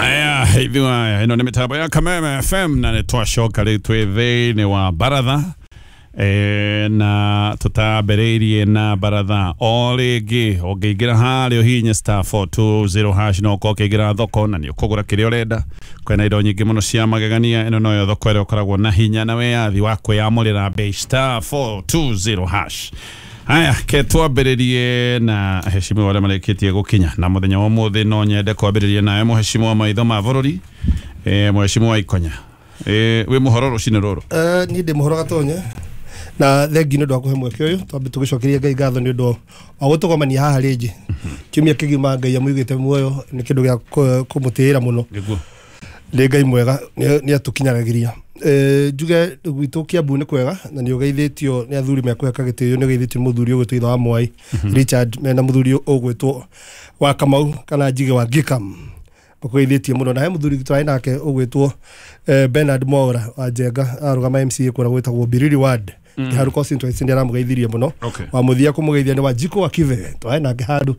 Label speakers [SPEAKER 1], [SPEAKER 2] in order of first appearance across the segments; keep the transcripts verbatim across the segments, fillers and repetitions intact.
[SPEAKER 1] Aya, ithuĩ ĩno nĩ mĩtambo ya Kameme F M na nĩ twacoka rĩu twĩ thĩinĩ wa baratha e, na tũtambĩrĩirie na baratha o rĩngĩ. Ũngĩingĩra harĩa ũhihinye star four two zero hash no ũkorwo ũkĩingĩra thoko na nĩ ũkũgũra kĩrĩa ũrenda. Kwĩna indo nyingĩ mũno cia magegania. Ĩno noyo thoko ĩrĩa ũkoragwo na hinya na wĩyathi wa kwĩyamũrĩra bei star four two zero hash. Haya, ke twambĩrĩrie na heshimiwa arĩa marĩkĩtie gũkinya na mũthenya wa ũmũthĩ. No nyende kwambĩrĩria nawe mũheshimiwa maitho ma bũrũri, eh, mũheshimiwa Ikonya. Eh, wĩ mũhoro rũcinĩ rũrũ?
[SPEAKER 2] Eh, niĩ ndĩ mũhoro Gatonye, na thengi nĩ ũndũ wa kũhe mweke ũyũ. Twambe tũgĩcokeria Ngai ngatho nĩ ũndũ wa gũtũgomania haha rĩngĩ kiumia kĩgima. Ngai amũigĩte muoyo nĩ kĩndũ gĩa kũmũtĩĩra mũno.
[SPEAKER 1] Nĩguo,
[SPEAKER 2] nĩ Ngai mwega, nĩ atũkinyagĩria. Njuge gwitũ Kiambu nĩ kwega na nĩ ũgeithĩtio nĩ athuri mekũheka gĩtĩo. Nĩ ũgeithĩtio nĩ mũthuri ũgwĩtwo Ithe wa Mwai Richard, mena mũthuri ũgwĩtwo wa Kamau kana Njige wa Gikam, ũgeithĩtie mũno. Na he mũthuri twarĩ nake ũgwĩtwo Bernard Mwaura wa Njenga, arũgama M C A kũrĩa gwĩtagwo Biriri Ward Kiharu constituency, nĩ aramũgeithirie mũno. Wa mũthia kũmũgeithia nĩ wa Jiko wa Kive, twarĩ nake handũ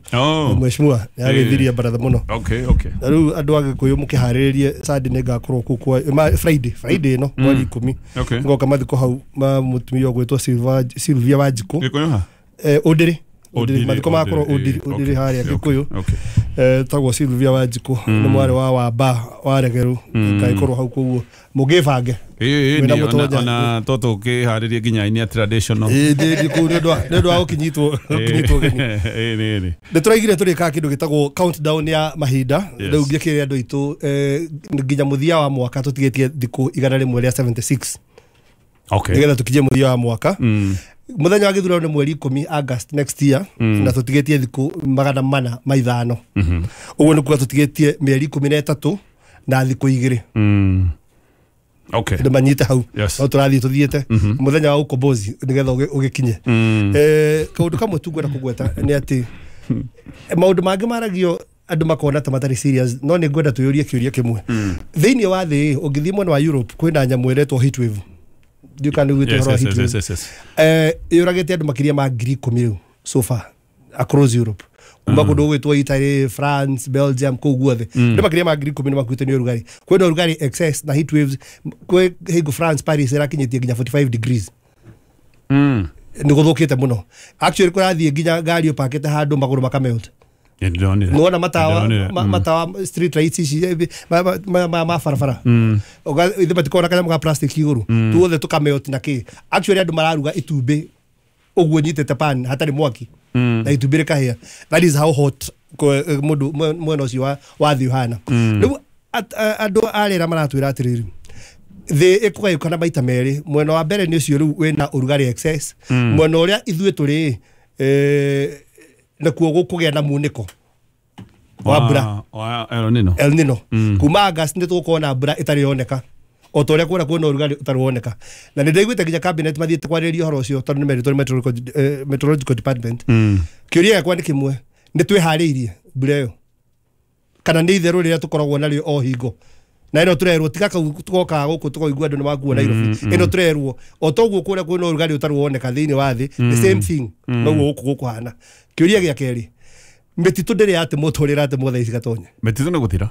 [SPEAKER 2] mheshimiwa nĩ ageithirie baratha mũno.
[SPEAKER 1] Okay, okay.
[SPEAKER 2] Na rĩu andũ a Gĩkũyũ mũkĩharĩrĩrie Sunday nĩ ngakorwo kũu kwa Friday, Friday ĩno mweri ikũmi ngoka mathiko hau ma mũtumia ũgwĩtwo Sylvia wa Jiko.
[SPEAKER 1] Gĩkũyũ ha?
[SPEAKER 2] Eh, Ũndĩrĩ. Ũndĩrĩ, mathiko makorwo Ũndĩrĩ, Ũndĩrĩ harĩa Gĩkũyũ. Eh, tagwo Sylvia wa Jiko, nĩ mwarĩ wa Wamba wa Regeru, ngaikorwo hau koguo mũngĩbange.
[SPEAKER 1] Ĩĩ, ĩĩ, ona toto ũkĩharĩrie nginya ini ya traditional.
[SPEAKER 2] Ĩĩ, ndĩ kũu nĩ ũndũ wa gũkinyitwo, gũkinyitwo ũgeni.
[SPEAKER 1] Ĩĩ, ĩĩ, ĩĩ.
[SPEAKER 2] Nĩ tũraigire tũrĩkaga kĩndũ gĩtagwo countdown ya mahinda. Rĩu ngĩkĩre andũ aitũ nginya mũthia wa mwaka tũtigĩtie thikũ igana rĩmwe rĩa seventy six.
[SPEAKER 1] Okay.
[SPEAKER 2] Nĩgetha tũkinye mũthia wa mwaka. Mũthenya wa gĩthurano nĩ mweri ikũmi August next year, na tũtigĩtie thikũ magana mana ma ithano. Ũguo nĩ kuga tũtigĩtie mĩeri ikũmi na ĩtatũ na thikũ igĩrĩ.
[SPEAKER 1] Okay.
[SPEAKER 2] Andũ manyite hau.
[SPEAKER 1] Yes.
[SPEAKER 2] No tũrathiĩ tũthiĩte mũthenya wa ukombozi nĩgetha ũgĩkinye. Eh, kaũndũ kamwe tu ngwenda kũgweta nĩ atĩ maũndũ mangĩ maragio andũ makona ta matarĩ serious, no nĩ ngwenda twĩyũrie kĩũria kĩmwe. Thĩinĩ wa thĩ ũngĩthiĩ mwena wa Europe kwĩna nyamũ ĩretwo heat wave. Ndiũĩ kana nĩ ũiguĩte ũhoro wa heat wave. Eh, yũragĩte andũ makĩria ma ngiri ikũmi rĩu so far across Europe. Kuma kũndũ gũgwĩtwo Italy, France, Belgium, kũu guothe. Andũ makĩria ma ngiri ikũmi nĩ makuĩte nĩ ũrugarĩ. Kwĩna ũrugarĩ excess na heat waves. Kwĩ hingo France, Paris ĩrakinyĩtie nginya forty five degrees. Nĩ gũthũkĩte mũno. Actually kũrathiĩ nginya ngari ũpakĩte handũ magũrũ makamelt. Nĩwona matawa, matawa street lights ici ma ma barabara. Ithe matikoragwo na kanyamũ ga plastic igũrũ. Tuothe tũkamelt na kĩ. Actually andũ mararuga itumbĩ ũguo nyitĩte pan hatarĩ mwaki. Na itumbĩ rĩkahĩa. That is how hot mũndũ mwena ũcio wa wa thĩ ũhana. Rĩu andũ a rĩera maratwĩra atĩrĩrĩ, thĩ ĩkũgayũkana maita merĩ. Mwena wa mbere nĩ ũcio rĩu wĩna ũrugarĩ excess. Mwena ũrĩa ithuĩ tũrĩ nakuo gũkũgĩa na munĩko wa mbura
[SPEAKER 1] wa El Nino.
[SPEAKER 2] El Nino. Kuma August nĩ tũgũkorwo na mbura ĩtarĩ yoneka. O ta ũrĩa kũrĩa kwĩna ũrugarĩ ũtarĩ woneka. Na nĩ ndaiguĩte nginya cabinet mathiĩte kwarĩrĩria ũhoro ũcio tondũ nĩ meritwo nĩ meteorological department. Kĩũria gĩakwa nĩ kĩmwe, nĩ twĩharĩirie mbura ĩyo kana nĩ itherũ rĩrĩa tũkoragwo narĩo o hingo? Na ĩno tũrerwo tiga kau tũgokaga gũkũ tũkaigua andũ nĩ makua Nairobi. Ĩno tũrerwo o toguo kũrĩa kwĩna ũrugarĩ ũtarĩ woneka thĩinĩ wa thĩ, the same thing noguo gũkũ gũkũhana. Kĩũria gĩa kerĩ, mĩtitũ ndĩrĩ yatemwo ta ũrĩa ĩratemwo thaa ici Gatonye.
[SPEAKER 1] Mĩtitũ nĩ gũthira.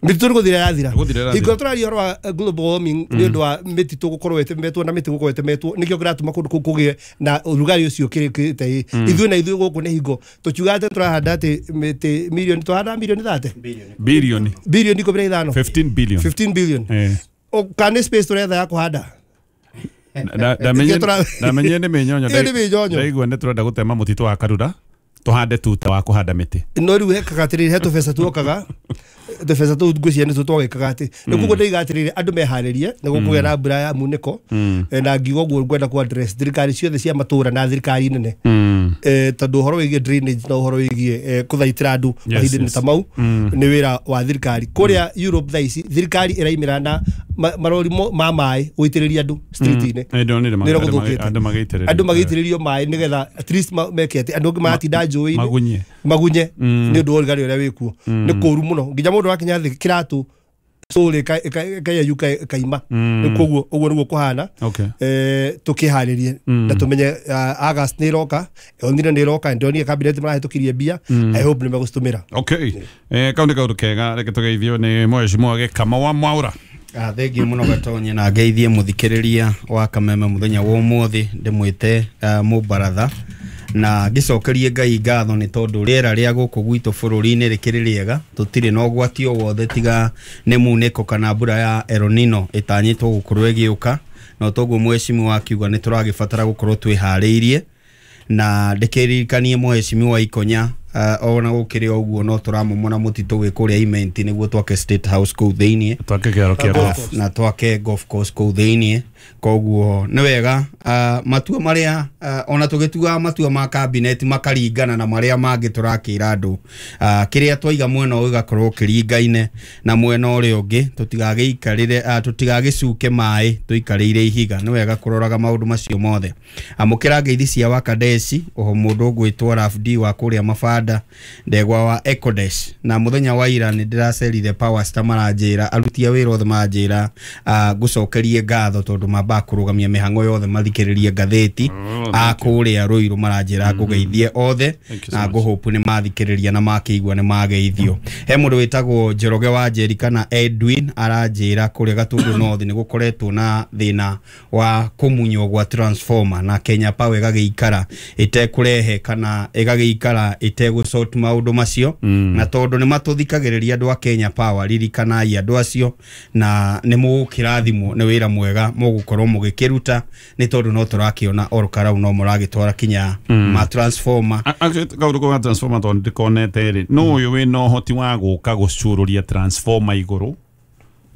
[SPEAKER 2] Mĩtitũ nĩ gũthira yathira. Hingo tũraria ũhoro wa global warming nĩ ũndũ wa mĩtitũ gũkorwo ĩtemetwo na mĩtĩ gũkorwo ĩtemetwo nĩkĩo kĩratũma kũndũ kũu kũgĩe na ũrugarĩ ũcio ũkĩrĩte. Ithuĩ na ithuĩ gũkũ nĩ hingo tũkiuga atĩ tũrahanda atĩ mĩtĩ mirioni, tũrahanda mirioni thate?
[SPEAKER 1] Bilioni.
[SPEAKER 2] Bilioni ikũmi na ithano.
[SPEAKER 1] fifteen billion.
[SPEAKER 2] fifteen billion. Kana nĩ space tũretha ya kũhanda?
[SPEAKER 1] Ndamenye nĩ mĩnyonyo. Ndaigua nĩ tũrenda gũtema mũtitũ wa Karura tũhande tuta wa kũhanda mĩtĩ.
[SPEAKER 2] No rĩu hekaga atĩrĩrĩ, he tũbeca tuokaga, tũbeca tũu ngwĩciria nĩtuo twagĩkaga atĩ nĩ koguo ndĩiga atĩrĩrĩ, andũ meharĩrie nĩ gũkũgĩa na mbura ya munĩko. Na ngiuga ũguo ngwenda kũ address thirikari ciothe cia matũra na thirikari nene, tondũ ũhoro wĩgiĩ drainage na ũhoro wĩgiĩ kũthaitĩra andũ mahinda-inĩ ta mau nĩ wĩra wa thirikari. Kũrĩa Europe thaa ici thirikari ĩraimĩra na marori ma maĩ gũitĩrĩria andũ street-inĩ.
[SPEAKER 1] Nĩ gũthũkĩte.
[SPEAKER 2] Andũ magĩitĩrĩrio maĩ nĩgetha at least meke atĩ andũ angĩ maratinda njũĩ-inĩ
[SPEAKER 1] magunye
[SPEAKER 2] magunye nĩ ũndũ wa ũrugarĩ ũrĩa wĩkuo. Nĩ kũũru mũno nginya mũndũ wakinya thĩ kĩratũ slowly ĩkayeyuka ĩkaima. Koguo ũguo nĩguo kũhana.
[SPEAKER 1] Okay.
[SPEAKER 2] Eh, tũkĩharĩrie na tũmenye uh, August nĩ ĩroka, El Nino nĩ ĩroka, ndonire cabinet marahĩtũkirie mbia. I hope nĩ megũcitũmĩra.
[SPEAKER 1] Okay. Eh, kau nĩ kaũndũ kega, reke tũgeithio nĩ mheshimiwa Gĩkama wa Mwaũra.
[SPEAKER 3] Ah, thengiũ mũno Gatonye, na ngeithie mũthikĩrĩria wa Kameme mũthenya wa ũmũthĩ, ndĩmwĩte uh, mũbaratha na ngĩcokerie Ngai ngatho nĩ tondũ rĩera rĩa gũkũ gwitũ bũrũri-inĩ rĩkĩrĩ rĩega, tũtirĩ na ũgwati o wothe tiga nĩ munĩko kana mbura ya El Nino ĩtanyĩtwo gũkorwo ĩgĩũka, na toguo mheshimiwa akiuga nĩ tũragĩbatara gũkorwo twĩharĩirie. Na ndĩkĩririkanie mheshimiwa Ikonya, uh, ona gũkĩrĩ o ũguo no tũramomora mũtitũ wĩ kũrĩa Imenti nĩguo twake State House kũu thĩiniĩ,
[SPEAKER 1] twake kĩaro kĩa golf.
[SPEAKER 3] Na twake golf course kũu thĩiniĩ. Koguo nĩ wega uh, matua marĩa uh, ona tũgĩtuaga matua ma cabinet makaringana na marĩa mangĩ tũrakĩra andũ, uh, kĩrĩa twaiga mwena ũyũ gĩgakorwo kĩringaine na mwena ũrĩa ũngĩ, tũtigagĩikarĩre uh, tũtigagĩcuke maĩ tũikarĩire ihiga. Nĩ wega kũroraga maũndũ macio mothe. Amũkĩra ngeithi cia Wakadeci, oho mũndũ ũgwĩtwo Rafdi wa kũrĩa Mabanda, ndegwa wa Ecodesh. Na mũthenya wa ira nĩ ndĩracerire Power Star, maranjĩra aruti a wĩra othe maranjĩra uh, ngũcokerie ngatho tondũ mambaga kũrũgamia mĩhang'o yothe mathikĩrĩrie ngathĩti. A kũrĩa Ruiru maranjĩra ngũgeithie othe,
[SPEAKER 1] Thank you so
[SPEAKER 3] na
[SPEAKER 1] much.
[SPEAKER 3] ngũhope nĩ mathikĩrĩria na makĩigua nĩ mageithio. He mũndũ wĩtagwo Njoroge wa Njeri kana Edwin aranjĩra kũrĩa Gatundu North nĩ gũkoretwo na thĩna wa kũmunywo gwa transformer, na Kenya Power ĩgagĩikara ĩtekũrehe kana ĩgagĩikara ĩtegũsort maũndũ macio. Na tondũ nĩ matũthikagĩrĩria andũ a Kenya Power, ririkanai andũ acio na nĩ mũgũkĩrathimwo nĩ wĩra mwega mũgũkorwo mũgĩkĩruta, nĩ tondũ no tũrakĩona Ol Kalou no mũragĩtwara kinya ma transformer.
[SPEAKER 1] A- Actually, kaũndũ kau ga transformer tondũ ndĩkonete rĩ, nũ ũyũ wĩna ũhoti wa gũka gũcurũria transformer igũrũ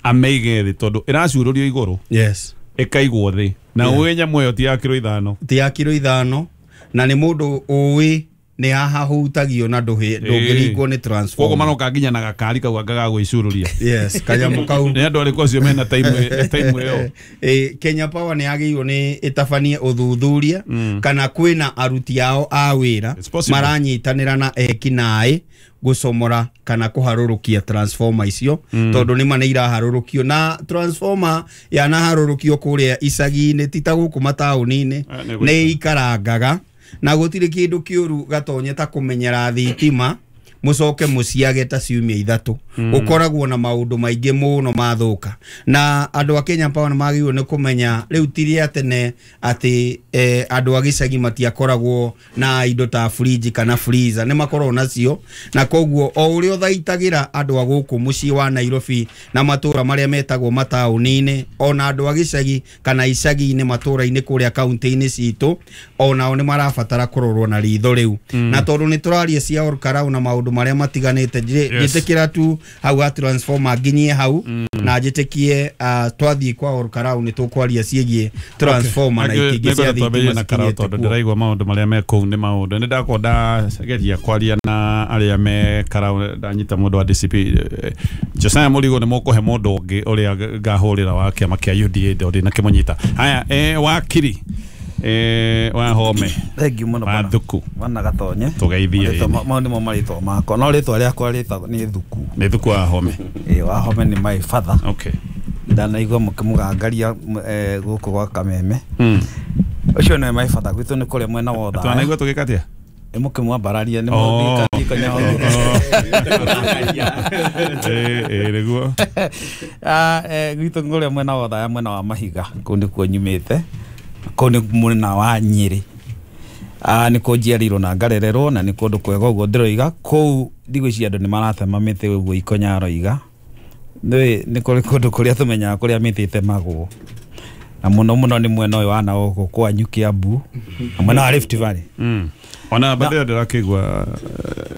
[SPEAKER 1] amĩige thĩ, tondũ ĩracurũrio igũrũ
[SPEAKER 3] Yes.
[SPEAKER 1] ĩkaigwo thĩ, na ũĩ nyamũ ĩyo ti ya kiro ithano.
[SPEAKER 3] Ti ya kiro ithano, na nĩ mũndũ ũĩ nĩ haha hutagio na ndũhĩ- ndũngĩringwo nĩ
[SPEAKER 1] Koguo
[SPEAKER 3] transformer.
[SPEAKER 1] Maroka nginya na gakari kau anga ga gwĩcurũria.
[SPEAKER 3] Yes, kanyamũ kau.
[SPEAKER 1] Nĩ andũ arĩkũ acio mena time time ĩyo?
[SPEAKER 3] Eh, Kenya Power nĩ yagĩrĩirwo nĩ ĩtabanie ũthuthuria kana kwĩna aruti ao a wĩra
[SPEAKER 1] It's possible.
[SPEAKER 3] maranyitanĩra na ekinaĩ gũcomora kana kũharũrũkia transformer icio, tondũ nĩma nĩ iraharũrũkio, na transformer yanaharũrũkio kũrĩa icagi-inĩ ti ta gũkũ mataũni-inĩ,
[SPEAKER 1] Eh, nĩ
[SPEAKER 3] nĩ ikarangaga, na gũtirĩ kĩndũ kĩũru Gatonye ta kũmenyera thitima mũcoke mũciage ta ciumia ithatũ. Ũkoragwo na maũndũ maingĩ mũno mathũka, na andũ a Kenya Power nĩ magĩrĩirwo nĩ kũmenya rĩu ti rĩa tene atĩ eh, andũ a gĩcagi matiakoragwo na indo ta fridge kana freezer, nĩ makoragwo nacio, na koguo o ũrĩa ũthaitagĩra andũ a gũkũ mũciĩ wa Nairobi na matũra marĩa metagwo mataũni-inĩ, ona andũ a gĩcagi kana icagi-inĩ matũra-inĩ kũrĩa kaunti-inĩ citũ, onao nĩ marabatara kũrorwo na ritho rĩu. Na tondũ nĩ tũraria cia Ol Kalou na maũndũ marĩa matiganĩte, njĩ-
[SPEAKER 1] Yes.
[SPEAKER 3] njĩtĩkĩra tu hau ha transformer nginyie hau, na njĩtĩkie uh, twathiĩ kwa Ol Kalou nĩ tũkwaria ciĩgiĩ transformer na itingĩ cia
[SPEAKER 1] twambĩrĩrie
[SPEAKER 3] thitima
[SPEAKER 1] na Karau
[SPEAKER 3] cikinyĩte
[SPEAKER 1] tondũ
[SPEAKER 3] kuo.
[SPEAKER 1] ndĩraigua maũndũ marĩa me kũu nĩ maũndũ nĩ ndakorwo ndageria kwaria na arĩa me Karau, ndanyita mũndũ wa D C P, eh, Josiah Mũrigo, nĩ mũkũhe mũndũ ũngĩ ũrĩa ngahũrĩra wa kĩama kĩa U D A, ndĩ na kĩmũnyita. Haya, eh, wakiri eh, wa Home.
[SPEAKER 4] Thengiũ mũno
[SPEAKER 1] wa
[SPEAKER 4] bwana.
[SPEAKER 1] Thuku.
[SPEAKER 4] Bwana Gatonye.
[SPEAKER 1] Tũgeithie.
[SPEAKER 4] Marĩtwa
[SPEAKER 1] Ĩĩ.
[SPEAKER 4] ma- mau nĩmo marĩtwa makwa, no rĩtwa rĩakwa rĩtagwo nĩ Thuku.
[SPEAKER 1] Nĩ Thuku wa Home.
[SPEAKER 4] Ĩĩ, Wahome nĩ my father.
[SPEAKER 1] Okay
[SPEAKER 4] ndanaigua mũkĩmũgangaria m- eh, gũkũ gwa Kameme.
[SPEAKER 1] mm.
[SPEAKER 4] Ũcio nĩwe my father, gwitũ nĩ kũrĩa mwena wa Othaya.
[SPEAKER 1] Twanaigua tũgĩka atĩa?
[SPEAKER 4] Ĩ, mũkĩmwambararia nĩ
[SPEAKER 1] Oh. Ĩĩ, ĩĩ, nĩguo.
[SPEAKER 4] Ah, eh, gwitũ kũrĩa mwena wa Othaya, mwena wa Mahiga, kũu nĩkuo nyumĩte, kũu nĩ mwena wa Nyĩrĩ. Ah, nĩkuo njiarĩirwo na ngarererwo, na nĩ kũndũ kwega ũguo ndĩroiga. Kũu ndigwĩciria andũ nĩ maratema mĩtĩ ũguo Ikonya aroiga. Nĩ nĩ kũrĩ kũndũ kũrĩa tũmenyaga kũrĩa mĩtĩ ĩtemagwo, na mũno mũno nĩ mwena ũyũ wa na gũkũ kwanyu Kiambu na mwena wa Rift Valley.
[SPEAKER 1] Mm. ona mbere ndĩrakĩigua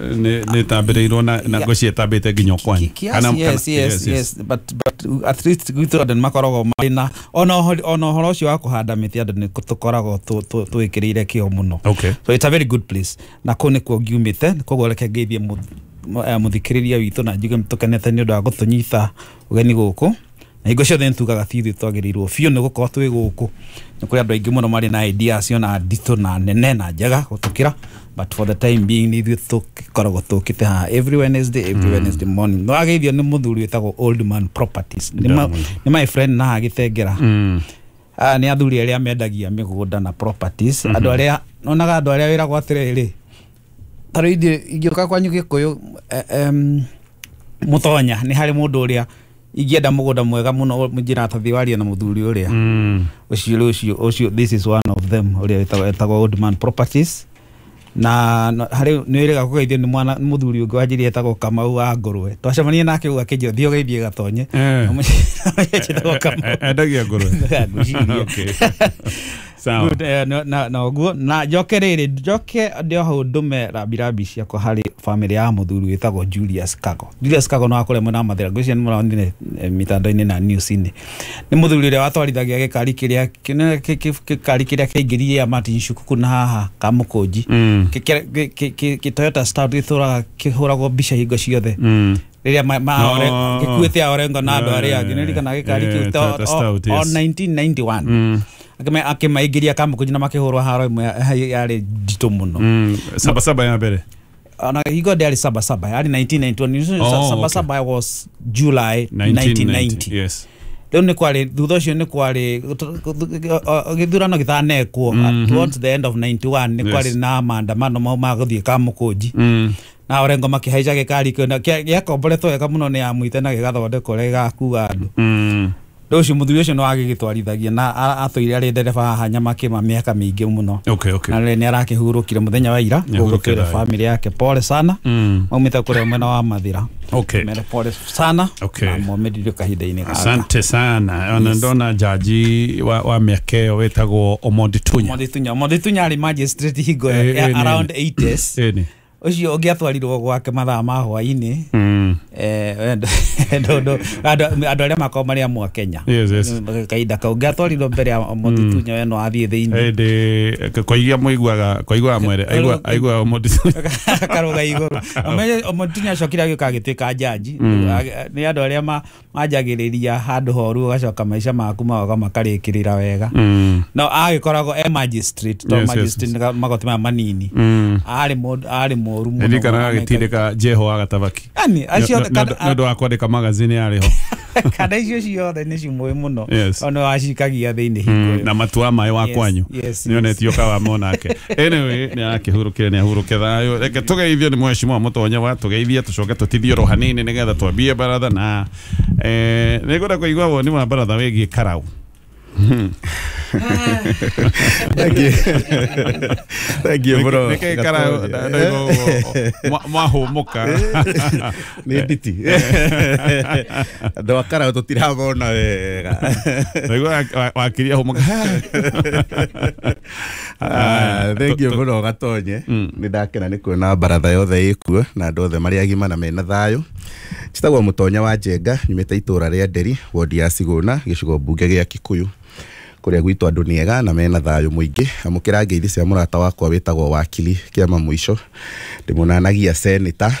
[SPEAKER 1] eh, nĩ nĩ ĩtambĩrĩirwo na na ngwĩciria ĩtambĩte nginya kwanyu.
[SPEAKER 4] Kiasi, yes, yes, yes, but but at least gwitũ andũ nĩ makoragwo marĩ na ona ũhoro- ona ũhoro ũcio wa kũhanda mĩtĩ, andũ nĩ tũkoragwo tũ- tũ- twĩkĩrĩire kĩo mũno.
[SPEAKER 1] Okay
[SPEAKER 4] so it's a very good place, na kũu nĩkuo ngiumĩte. Koguo reke ngeithie mũth- mũ- eh, mũthikĩrĩria witũ na njuge tũkenete nĩ ũndũ wa gũtũnyita ũgeni gũkũ. Na hingo ciothe nĩtugaga ti ithuĩ twagĩrĩirwo biũ nĩ gũkorwo twĩ gũkũ. Nĩ kũrĩ andũ aingĩ mũno marĩ na ideas na nditũ na nene na njega gũtũkĩra, but for the time being nĩ ithuĩ tũkoragwo tũkĩte haha every Wednesday, every mm. Wednesday morning. No ageithio nĩ mũthuri wĩtagwo Old Man Properties. Nĩ my friend na haha Gĩtengera. Mm. Ah, nĩ athuri arĩa mendagia mĩgũnda na properties. Mm -hmm. Andũ arĩa nonaga andũ arĩa wĩragwo atĩrĩrĩ, ta rĩu ithuĩ ingĩũka kwanyu Gĩkũyũ em, Mũtonya nĩ harĩ mũndũ ũrĩa ingĩenda mũgũnda mwega mũno njĩra tathiĩ warie na mũthuri ũrĩa ũcio ũcio ũcio, this is one of them ũrĩa wĩtagwo Old Man Properties. Na harĩ nĩ wĩrĩga kũgeithio nĩ mwana mũthuri ũngĩ wanjĩrire etagwo Kamau wa Ngũrwe. Twacemania nake ũguo akĩnjĩra thiĩ ũgeithie Gatonye. Etagwo Kamau.
[SPEAKER 1] Endagia ngũrwe. Okay. Sawa.
[SPEAKER 4] Na na ũguo na njoke rĩrĩ njoke ndĩ o hau ndũme rambirambi ciakwa harĩ family ya mũthuri wĩtagwo Julius Kago. Julius Kago no akore mwena wa Mathĩra, ngwĩciria nĩ mũronire mitandao-inĩ na news-inĩ. Nĩ mũthuri ũrĩa watwarithagia gĩkari kĩrĩa gĩkari kĩrĩa kĩaingĩririe ya Martin Shukuku na haha Kamũkũnji. Kĩ Toyota Stout gĩtũraga kĩhũragwo mbica hingo ciothe. Rĩrĩa gĩkuĩte Orengo na andũ arĩa angĩ, nĩririkanaga gĩkari kĩu o nineteen ninety-one. Akĩmaingĩria Kamũkũnji na makĩhũrwo haro ĩmwe yarĩ nditũ mũno.
[SPEAKER 1] Saba saba ya mbere.
[SPEAKER 4] Ona hingo ndĩarĩ saba saba, yarĩ nineteen ninety-one. Saba saba was July nineteen ninety.
[SPEAKER 1] Yes.
[SPEAKER 4] Rĩu nĩ kwarĩ thutha ũcio nĩ kwarĩ gĩthurano gĩtanekwo towards the end of ninety-one nĩ kwarĩ na maandamano mau ma gũthiĩ Kamũkũnji. Na Orengo makĩhaica gĩkari kĩu gĩakomboretwo wega mũno nĩ amwite na gĩgathondekwo ũrĩa gĩgakua andũ. Rĩu ũcio mũthuri ũcio nĩ wagĩgĩtwarithagia na atũire arĩ ndereba haha Nyamakĩma mĩaka mĩingĩ mũno.
[SPEAKER 1] Okay, okay.
[SPEAKER 4] Na rĩrĩ nĩ arakĩhurũkire mũthenya wa ira, gũkĩra family yake pole sana. Maumĩte kũrĩa mwena wa Mathĩra.
[SPEAKER 1] Okay.
[SPEAKER 4] Mere pole sana.
[SPEAKER 1] Okay.
[SPEAKER 4] Na momĩrire kahinda-inĩ gaka.
[SPEAKER 1] Asante sana. Ona ndona jaji wa wa mĩaka ĩyo wĩtagwo Omondi Tunya.
[SPEAKER 4] Omondi Tunya. Omondi Tunya arĩ magistrate hingo around eighties.
[SPEAKER 1] Ĩni.
[SPEAKER 4] Ũcio ũngĩatwarirwo gwake mathaa ma hwaĩ-inĩ andũ arĩa makoragwo marĩ amwe a Kenya kahinda kau ũngĩatwarirwo mbere ya Omondi Tunya we no athiĩ thĩinĩ.
[SPEAKER 1] Ĩndĩ koigia mũiguaga koiguaga mwere aigua aigua Omondi Tunya
[SPEAKER 4] akarũga igũrũ. Omondi Tunya acokire agĩũka agĩtuĩka jaji. Nĩ andũ arĩa manjagĩrĩria handũ horu ũgacoka maica maku magoka makarĩkĩrĩra wega. No agĩkoragwo e magistrate to magistrate magoti maya manini. Arĩ mũndũ arĩ mũru mũno.
[SPEAKER 1] Ndirikanaga agĩtindĩka Jeho wa Gatabaki.
[SPEAKER 4] Yani acio
[SPEAKER 1] nĩ ũndũ wa kwandĩka magazine yarĩ ho.
[SPEAKER 4] Kana icio ciothe nĩ cimũĩ mũno. Ona wacikagia thĩinĩ hingo.
[SPEAKER 1] Na matua maĩ wa kwanyu. Nĩonetio kawa monake. Anyway, nĩ arakĩhurũkire nĩ ahurũke thayũ. Reke tũgeithio nĩ mheshimiwa Mũtonya wa tũgeithie tũcoke tũtithie oro hanini nĩgetha twambie baratha na eh nĩngwenda kũigua woni wa baratha wĩgiĩ Karau.
[SPEAKER 5] Thank you. Thank you bro.
[SPEAKER 1] Nĩkĩ Karau mwahũmũka
[SPEAKER 5] nĩ nditi andũ a Karau tũtiramona wega.
[SPEAKER 1] Ndaigua wakiria hũmũka.
[SPEAKER 5] Thank you mũno Gatonye. Nĩ ndakena nĩ kuona baratha yothe ĩkuo na andũ othe marĩ agima na mena thayũ. Njĩtagwo Mũtonya wa Njenga, nyumĩte itũra rĩa Nderi, wodi ya Cigũna, gĩcigo mbunge gĩa Kikuyu. Kũrĩa gwitũ andũ nĩ ega na mena thayũ mũingĩ. Amũkĩra ngeithi cia mũrata wakwa wĩtagwo Wakili Kĩama Mũico, ndĩmũnanagia seneta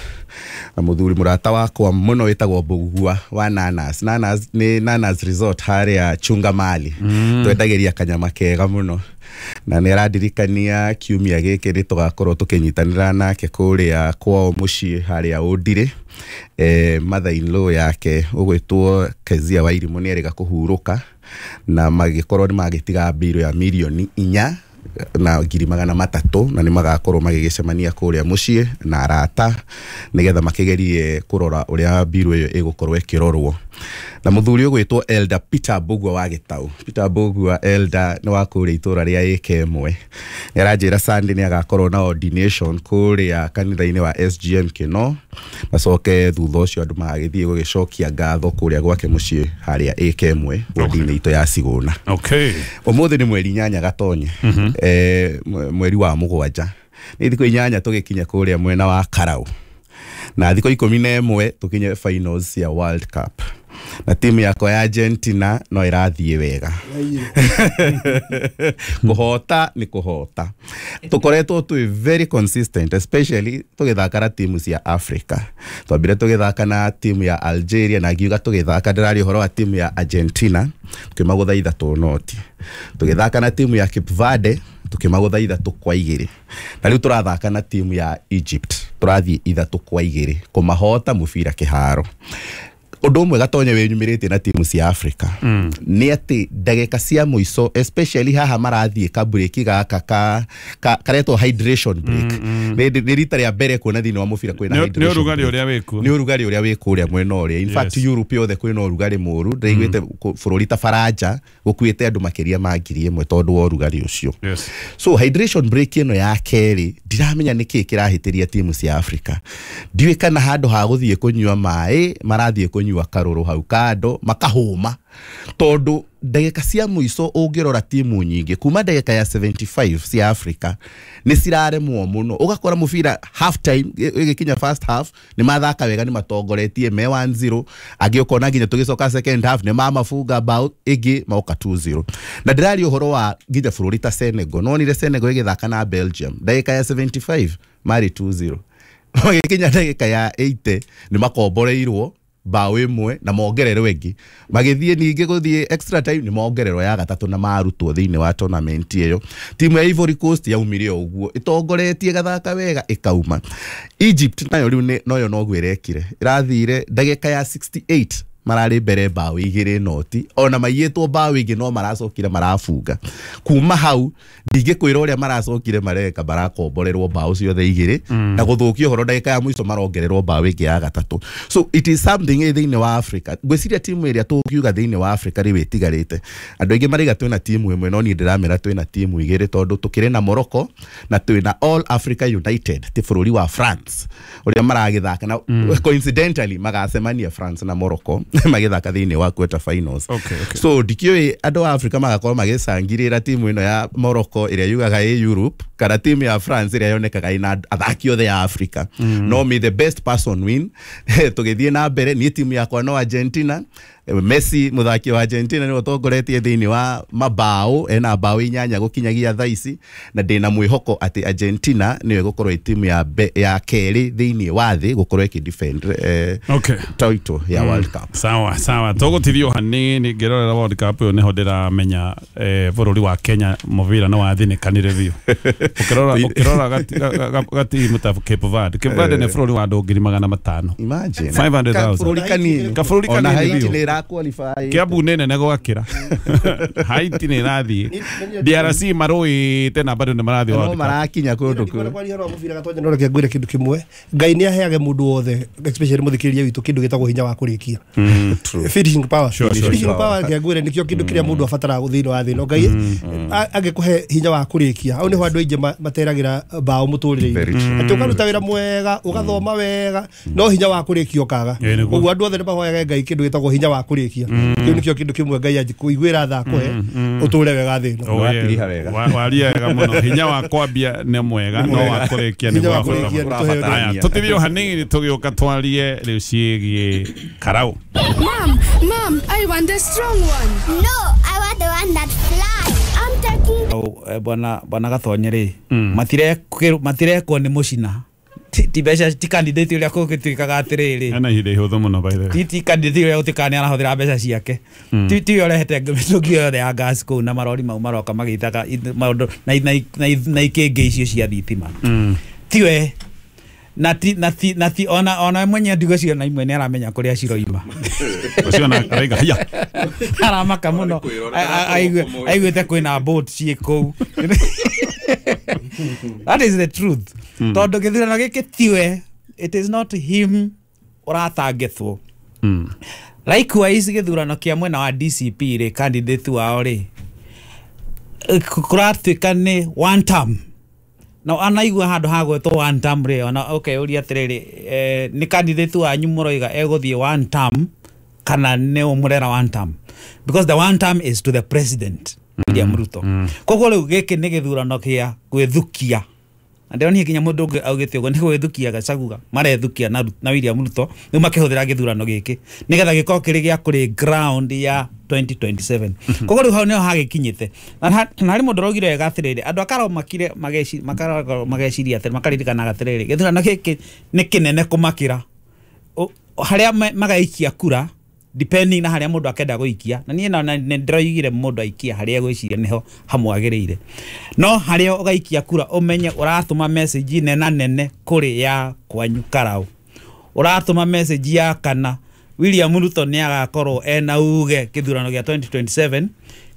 [SPEAKER 5] na mũthuri mũrata wakwa mũno wĩtagwo Mbũgua wa Nanas. Nanas nĩ Nanas Resort harĩa Chunga Mali. Twendagĩria kanyama kega mũno na nĩ arandirikania kiumia gĩkĩ nĩ tũgakorwo tũkĩnyitanĩra nake kũrĩa kwao mũciĩ harĩa Ũndirĩ. Eh, mother in law yake ũgwĩtwo Kezia Wairimũ nĩ erĩga kũhurũka na magĩkorwo nĩ magĩtiga mbirũ ya mirioni inya na ngiri magana matatũ na nĩ magakorwo magĩgĩcemania kũrĩa mũciĩ na arata nĩgetha makĩgerie kũrora ũrĩa mbirũ ĩyo ĩgũkorwo ĩkĩrorwo. Na mũthuri ũgwĩtwo Elder Peter Mbũgua wa Gĩtaũ. Peter Mbũgua Elder nĩ wa kũrĩa itũra rĩa ĩka ĩmwe. Nĩ aranjĩra Sunday nĩ agakorwo na ordination kũrĩa kanitha-inĩ wa S G M Kĩno, macoke thutha ũcio andũ magagĩthiĩ gũgĩcokia ngatho kũrĩa gwake mũciĩ harĩa ĩka ĩmwe wodi-inĩ itũ ya Cigũna.
[SPEAKER 1] Okay.
[SPEAKER 5] Ũmũthĩ nĩ mweri inyanya Gatonye. Eh, mweri wa mũgwanja. Nĩ thikũ inyanya tũgĩkinya kũrĩa mwena wa Karau. Na thikũ ikũmi na ĩmwe tũkinye finals ya World Cup. Na timu yakwa ya Argentina no ĩrathiĩ wega. Kũhota nĩ kũhota. Tũkoretwo twĩ very consistent, especially tũgĩthaka na timu cia Africa. Twambire tũgĩthaka na timu ya Algeria, na ngiuga tũgĩthaka ndĩraria ũhoro wa timu ya Argentina, tũkĩmagũtha ithatũ noti. Tũgĩthaka na timu ya Cape Verde, tũkĩmagũtha ithatũ kwa igĩrĩ. Na rĩu tũrathaka na timu ya Egypt, tũrathiĩ ithatũ kwa igĩrĩ kũmahota mũbira kĩharo. Ũndũ ũmwe Gatonye wĩnyumĩrĩtie na timu cia Africa mm. nĩ atĩ ndagĩka cia mũico, especially haha marathiĩ kaburĩki gaka ka, ka, karetwo hydration break. mm, mm. Nĩ rita rĩa mbere kuona thĩinĩ wa mũbira kwĩna hydration.
[SPEAKER 1] Nĩ ũrugarĩ ũrĩa wĩkuo.
[SPEAKER 5] Nĩ ũrugarĩ ũrĩa wĩ kũrĩa mwena ũrĩa. In fact,
[SPEAKER 1] yes.
[SPEAKER 5] Europe yothe kwĩna ũrugarĩ mũru. Ndĩraiguĩte mm. bũrũri ta Faranja gũkuĩte andũ makĩria ma ngiri ĩmwe tondũ wa ũrugarĩ ũcio.
[SPEAKER 1] Yes.
[SPEAKER 5] So hydration break ĩno ya kerĩ ndiramenya nĩkĩĩ kĩrahĩtĩria timu cia Africa. Ndiũĩ kana handũ ha gũthiĩ kũnyua maĩ marathiĩ kũnyua karũrũ hau kando makahũma, tondũ ndagĩka cia mũico ũngĩrora timu nyingĩ kuma ndagĩka ya seventy-five cia Africa nĩ ciraremwo mũno. Ũgakora mũbira half time ĩgĩkinya first half nĩ mathaka wega, nĩ matongoretie me one zero, angĩ ũkona nginya tũgĩcoka second half nĩ mamafunga bao ĩngĩ maoka two zero. Na ndĩraria ũhoro wa nginya bũrũri ta Senegal. Nonire Senegal ĩgĩthaka na Belgium ndagĩka ya seventy-five marĩ two zero, magĩkinya ndagĩka ya eighty nĩ makomboreirwo bao ĩmwe na mongererwo ĩngĩ, magĩthiĩ ningĩ gũthiĩ extra time nĩ mongererwo ya gatatũ na marutwo thĩinĩ wa tournament ĩyo. Timu ya Ivory Coast yaumire o ũguo ĩtongoretie gathaka wega ĩkauma. Egypt nayo rĩu noyo noguo ĩrekire, ĩrathire ndagĩka ya sixty-eight mararĩ mbere bao igĩrĩ noti, ona maiyĩtwo bao ingĩ no maracokire marabunga. Kuma hau ndingĩkwĩra ũrĩa maracokire mareka, marakomborerwo bao ciothe igĩrĩ mm. na gũthũkia ũhoro ndagĩka ya mũico marongererwo bao ĩngĩ ya gatatũ. So it is something ĩ thĩinĩ wa Africa. Ngwĩciria timu ĩrĩa tũngiuga thĩinĩ wa Africa rĩu ĩtigarĩte, andũ aingĩ maraiga twĩna timu ĩmwe, no niĩ ndĩramera twĩna timu igĩrĩ tondũ tũkĩrĩ na Morocco na twĩna All Africa United, ti bũrũri wa France ũrĩa maragĩthaka na mm. coincidentally magacemania France na Morocco magĩthaka thĩinĩ wa quarter finals.
[SPEAKER 1] Okay, okay.
[SPEAKER 5] So ndikĩũĩ andũ a Africa magakorwo magĩcangirĩra timu ĩno ya Morocco ĩrĩa yugaga ĩ Europe kana timu ya France ĩrĩa yonekaga ĩna athaki othe ya Africa. mm. No may the best person win. Tũgĩthiĩ na mbere, niĩ timu yakwa no Argentina. Messi mũthaki wa Argentina nĩwe ũtongoretie thĩinĩ wa mabao, ena bao inyanya gũkinyagia thaa ici, na ndĩna mwĩhoko atĩ Argentina nĩyo ĩgũkorwo ĩ timu ya be, ya kerĩ thĩinĩ wa thĩ gũkorwo ĩkĩ defend eh,
[SPEAKER 1] okay.
[SPEAKER 5] title ya mm. World Cup.
[SPEAKER 1] Sawa sawa, tũgũtithio hanini ngĩrorera World Cup ĩyo nĩho ndĩramenya eh, bũrũri wa Kenya mũbira nĩ wathinĩkanire biũ. Ũkĩrora ũkĩrora gatimu ta Cape Verde. Cape Verde nĩ bũrũri wa andũ ngiri magana matano.
[SPEAKER 5] Imagine
[SPEAKER 1] five hundred thousand.
[SPEAKER 5] Kabũrũri kanini.
[SPEAKER 1] Kabũrũri kanini biũ.
[SPEAKER 5] Qualify.
[SPEAKER 1] Kiambu nĩ nene gwakĩra. Haiti nĩ ĩrathiĩ. D R C marũĩte na bado nĩ marathiĩ
[SPEAKER 5] World Cup. No marakinya kũndũ kũu.
[SPEAKER 2] Kwaria ũhoro wa mũbira Gatonye, no reke ngwĩre kĩndũ kĩmwe. Ngai nĩ aheage mũndũ wothe, especially mũthikĩrĩria witũ, kĩndũ gĩtagwo hinya wa kũrĩkia. Finishing power. Finishing power reke ngwĩre nĩkĩo kĩndũ kĩrĩa mũndũ abataraga thĩinĩ wa thĩ ĩno. Ngai angĩkũhe hinya wa kũrĩkia, hau nĩho andũ aingĩ materagĩra bao mũtũrĩre-inĩ. Atĩ ũkaruta wĩra mwega, ũgathoma wega, no hinya wa kũrĩkia ũkaga. Ũguo andũ othe nĩ mahoyage Ngai kĩndũ gĩtagwo hinya wa kũrĩkia. Kĩu nĩkĩo kĩndũ kĩmwe Ngai angĩkũiguĩra tha akũhe ũtũre wega thĩ ĩno.
[SPEAKER 5] Watiriha wega.
[SPEAKER 1] Waria wega mũno. Hinya wa kwambia nĩ mwega, no wa kũrĩkia nĩ wa bata. Aya, tũtithio hanini tũgĩũka twarie rĩu ciĩgiĩ karau.
[SPEAKER 6] Mom, mom, I want the strong one.
[SPEAKER 7] No, I want the one that flies. I'm taking
[SPEAKER 4] oh, bwana bwana Gatonye rĩ, matirekwo nĩ mũcina. Ti mbeca ti candidate ũrĩa kũgĩtuĩkaga atĩrĩrĩ,
[SPEAKER 1] ena ihinda ihũthũ mũno by the way.
[SPEAKER 4] Ti ti candidate ũrĩa gũtuĩkaga nĩ arahũthĩra mbeca ciake, ti ti ũrehete mĩtũngi yothe ya gas kũu na marori mau maroka magĩitaga maũndũ na ikĩngĩ icio cia thitima, tiwe na ti na ti na ti ona ona mwenye ndigo na imwe nĩ aramenya kũrĩa ciroima.
[SPEAKER 1] Ũcio na araiga haya
[SPEAKER 4] aramaka mũno, aiguĩte kwĩna boat ciĩ kũu. That is the truth. Tondũ gĩthurano gĩkĩ tiwe, it is not him ũratangĩtwo. Likewise gĩthurano kĩa mwena wa D C P rĩ, candidate wao rĩ, kũratuĩka nĩ one term. Na anaigua handũ ha gwĩtwo one term rĩ, ona okay ũria atĩrĩrĩ, nĩ candidate wanyu mũroiga egũthiĩ one term kana nĩ ũmũrera one term? Because the one term is to the president William Ruto. Koguo rĩu gĩkĩ nĩ gĩthurano kĩa gwĩthukia Na ndĩronire nginya mũndũ ũngĩ augĩte ũguo nĩ gwĩthukia Gachagua marethukia na na William Ruto rĩu makĩhũthĩra gĩthurano gĩkĩ nĩgetha gĩkorwo kĩrĩ gĩa kũrĩ ground ya twenty twenty-seven. Koguo rĩu hau nĩho hagĩkinyĩte. Na na harĩ mũndũ ũraugire wega atĩrĩrĩ, andũ akarao makire mageci makarao mageciria atĩrĩ makaririkanaga atĩrĩrĩ, gĩthurano gĩkĩ nĩ kĩnene kũmakĩra harĩa magaikia kura depending na harĩa mũndũ akenda gũikia. Na niĩ na nĩ ndĩroigire mũndũ aikia harĩa egwĩciria nĩho hamwagĩrĩire, no harĩa ũgaikia kura ũmenye ũratũma message nena nene kũrĩ ya kwanyu Karau, ũratũma message ya kana William Ruto nĩ agakorwo ena uge kĩthurano gĩa twenty twenty-seven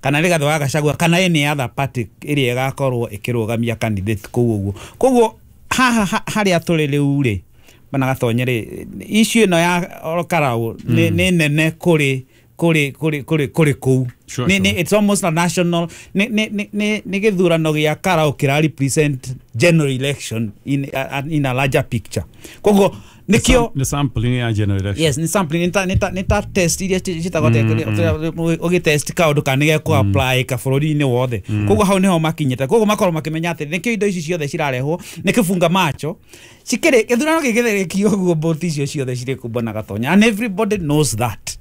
[SPEAKER 4] kana Rigathi wa Gachagua kana any other party ĩrĩa ĩgakorwo ĩkĩrũgamia candidate kũu ũguo. Koguo haha harĩa tũrĩ rĩu rĩ bana Gatonye rĩ, issue ĩno ya Karau nĩ nene kũrĩ kũrĩ kũrĩ kũrĩ kũrĩ kũu. Nĩ it's almost a national, nĩ nĩ nĩ nĩ gĩthurano gĩa Karau kĩra represent general election in a, in a larger picture. Koguo nikio
[SPEAKER 1] ni sampling ya general election.
[SPEAKER 4] Yes, ni sampling nita nita nita test iria citagwo ũgĩ test kaũndũ kana nĩ gekũ apply ka bũrũri-inĩ wothe. Koguo hau niho makinyĩte. Koguo makorwo makĩmenya atĩ nĩkĩo indo ici ciothe cirarehwo nĩ kĩbunga macho cikĩrĩ gĩthurano gĩgĩthĩrĩkio ũguo mbũti icio ciothe cirĩ kũ bwana Gatonya, and everybody knows that.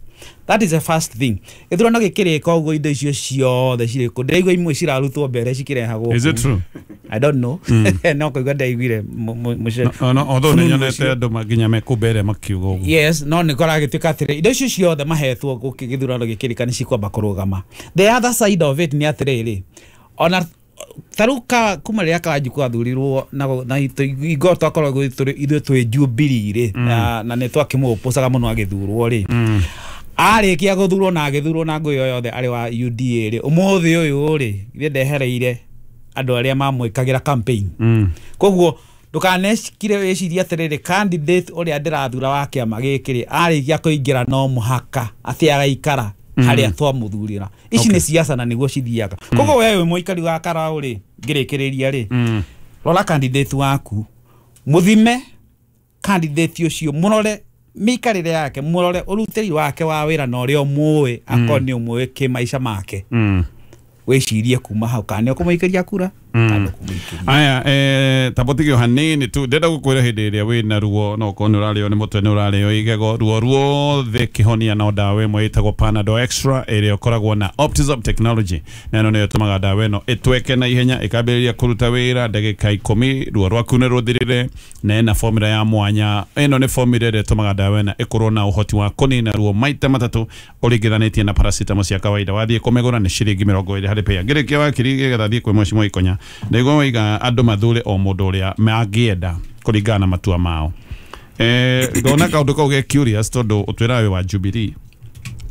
[SPEAKER 4] That is the first thing. Gĩthurano gĩkĩrĩka ũguo indo icio ciothe cirĩ kũ ndĩraigua imwe cirarutwo mbere cikĩrehagwo.
[SPEAKER 1] Is it true?
[SPEAKER 4] I don't know. No kũigua ndaiguire
[SPEAKER 1] no no although nĩ nyonete andũ nginya mekũ mbere makiuga ũguo.
[SPEAKER 4] Yes, no nĩ kũragĩtuĩka atĩrĩ indo icio ciothe mahetwo gũkĩ gĩthurano gĩkĩrĩka nĩ cikwamba kũrũgama. The other side of it nĩ atĩrĩrĩ, ona taruka kuma rĩrĩa Kawanjiku athurirwo na na ingo twakoragwo ithuĩ twĩ Jubilee rĩ, na nĩ twakĩmũpũcaga mũno agĩthurwo rĩ, arĩkia gũthurwo na agĩthurwo na ngũĩ yothe arĩ wa U D A rĩ, ũmũthĩ ũyũ rĩ ithuĩ ndehereire andũ arĩa mamwĩkagĩra campaign. Koguo ndũkanecikire wĩcirie atĩrĩrĩ candidate ũrĩa ndĩrathura wa kĩama gĩkĩ rĩ arĩkia kũingĩra no mũhaka atĩ agaikara harĩa twamũthurĩra. Ici nĩ siasa na nĩguo cithiaga. Koguo we wĩ mũikari wa Karau rĩ, ngĩrĩkĩrĩria rĩ, rora candidate waku, mũthime candidate ũcio, mũrore mĩikarĩre yake, mũrore ũrutĩri wake wa wĩra na ũrĩa ũmũĩ, akorwo nĩ ũmũĩ kĩmaica make, wĩcirie kuma hau kana nĩ ũkũmũikĩria kura kana ndũkũmũikĩria.
[SPEAKER 1] Aya, eh tabotigio hanini tu ndenda gukwira hindi iria wina ruo no ko ni urario ni mutwe ni urario igego ruo ruothe kihonia no ndawa imwe itagwo Panadol Extra iria ukoragwo na Optizop technology na ino niyo itumaga ndawa ino itweke na ihenya ikambiriria kuruta wira ndagika ikumi ruo rwaku ni ruthirire na ina formula ya mwanya. Ino ni formula iria itumaga ndawa ino ikorwo na uhoti wa kunina ruo maita matatu uringithanitie na paracetamol cia kawaida. Wathie kumigura ni ciringi mirongo iri hari pea ngirikia wakiri getha thie kwi Mheshimiwa Ikonya ndaigua waiga andu mathure o mundu uria mangienda kuringana na matua mao. Eh ndona kaundu kau ge curious tondu utwira we wa Jubilee.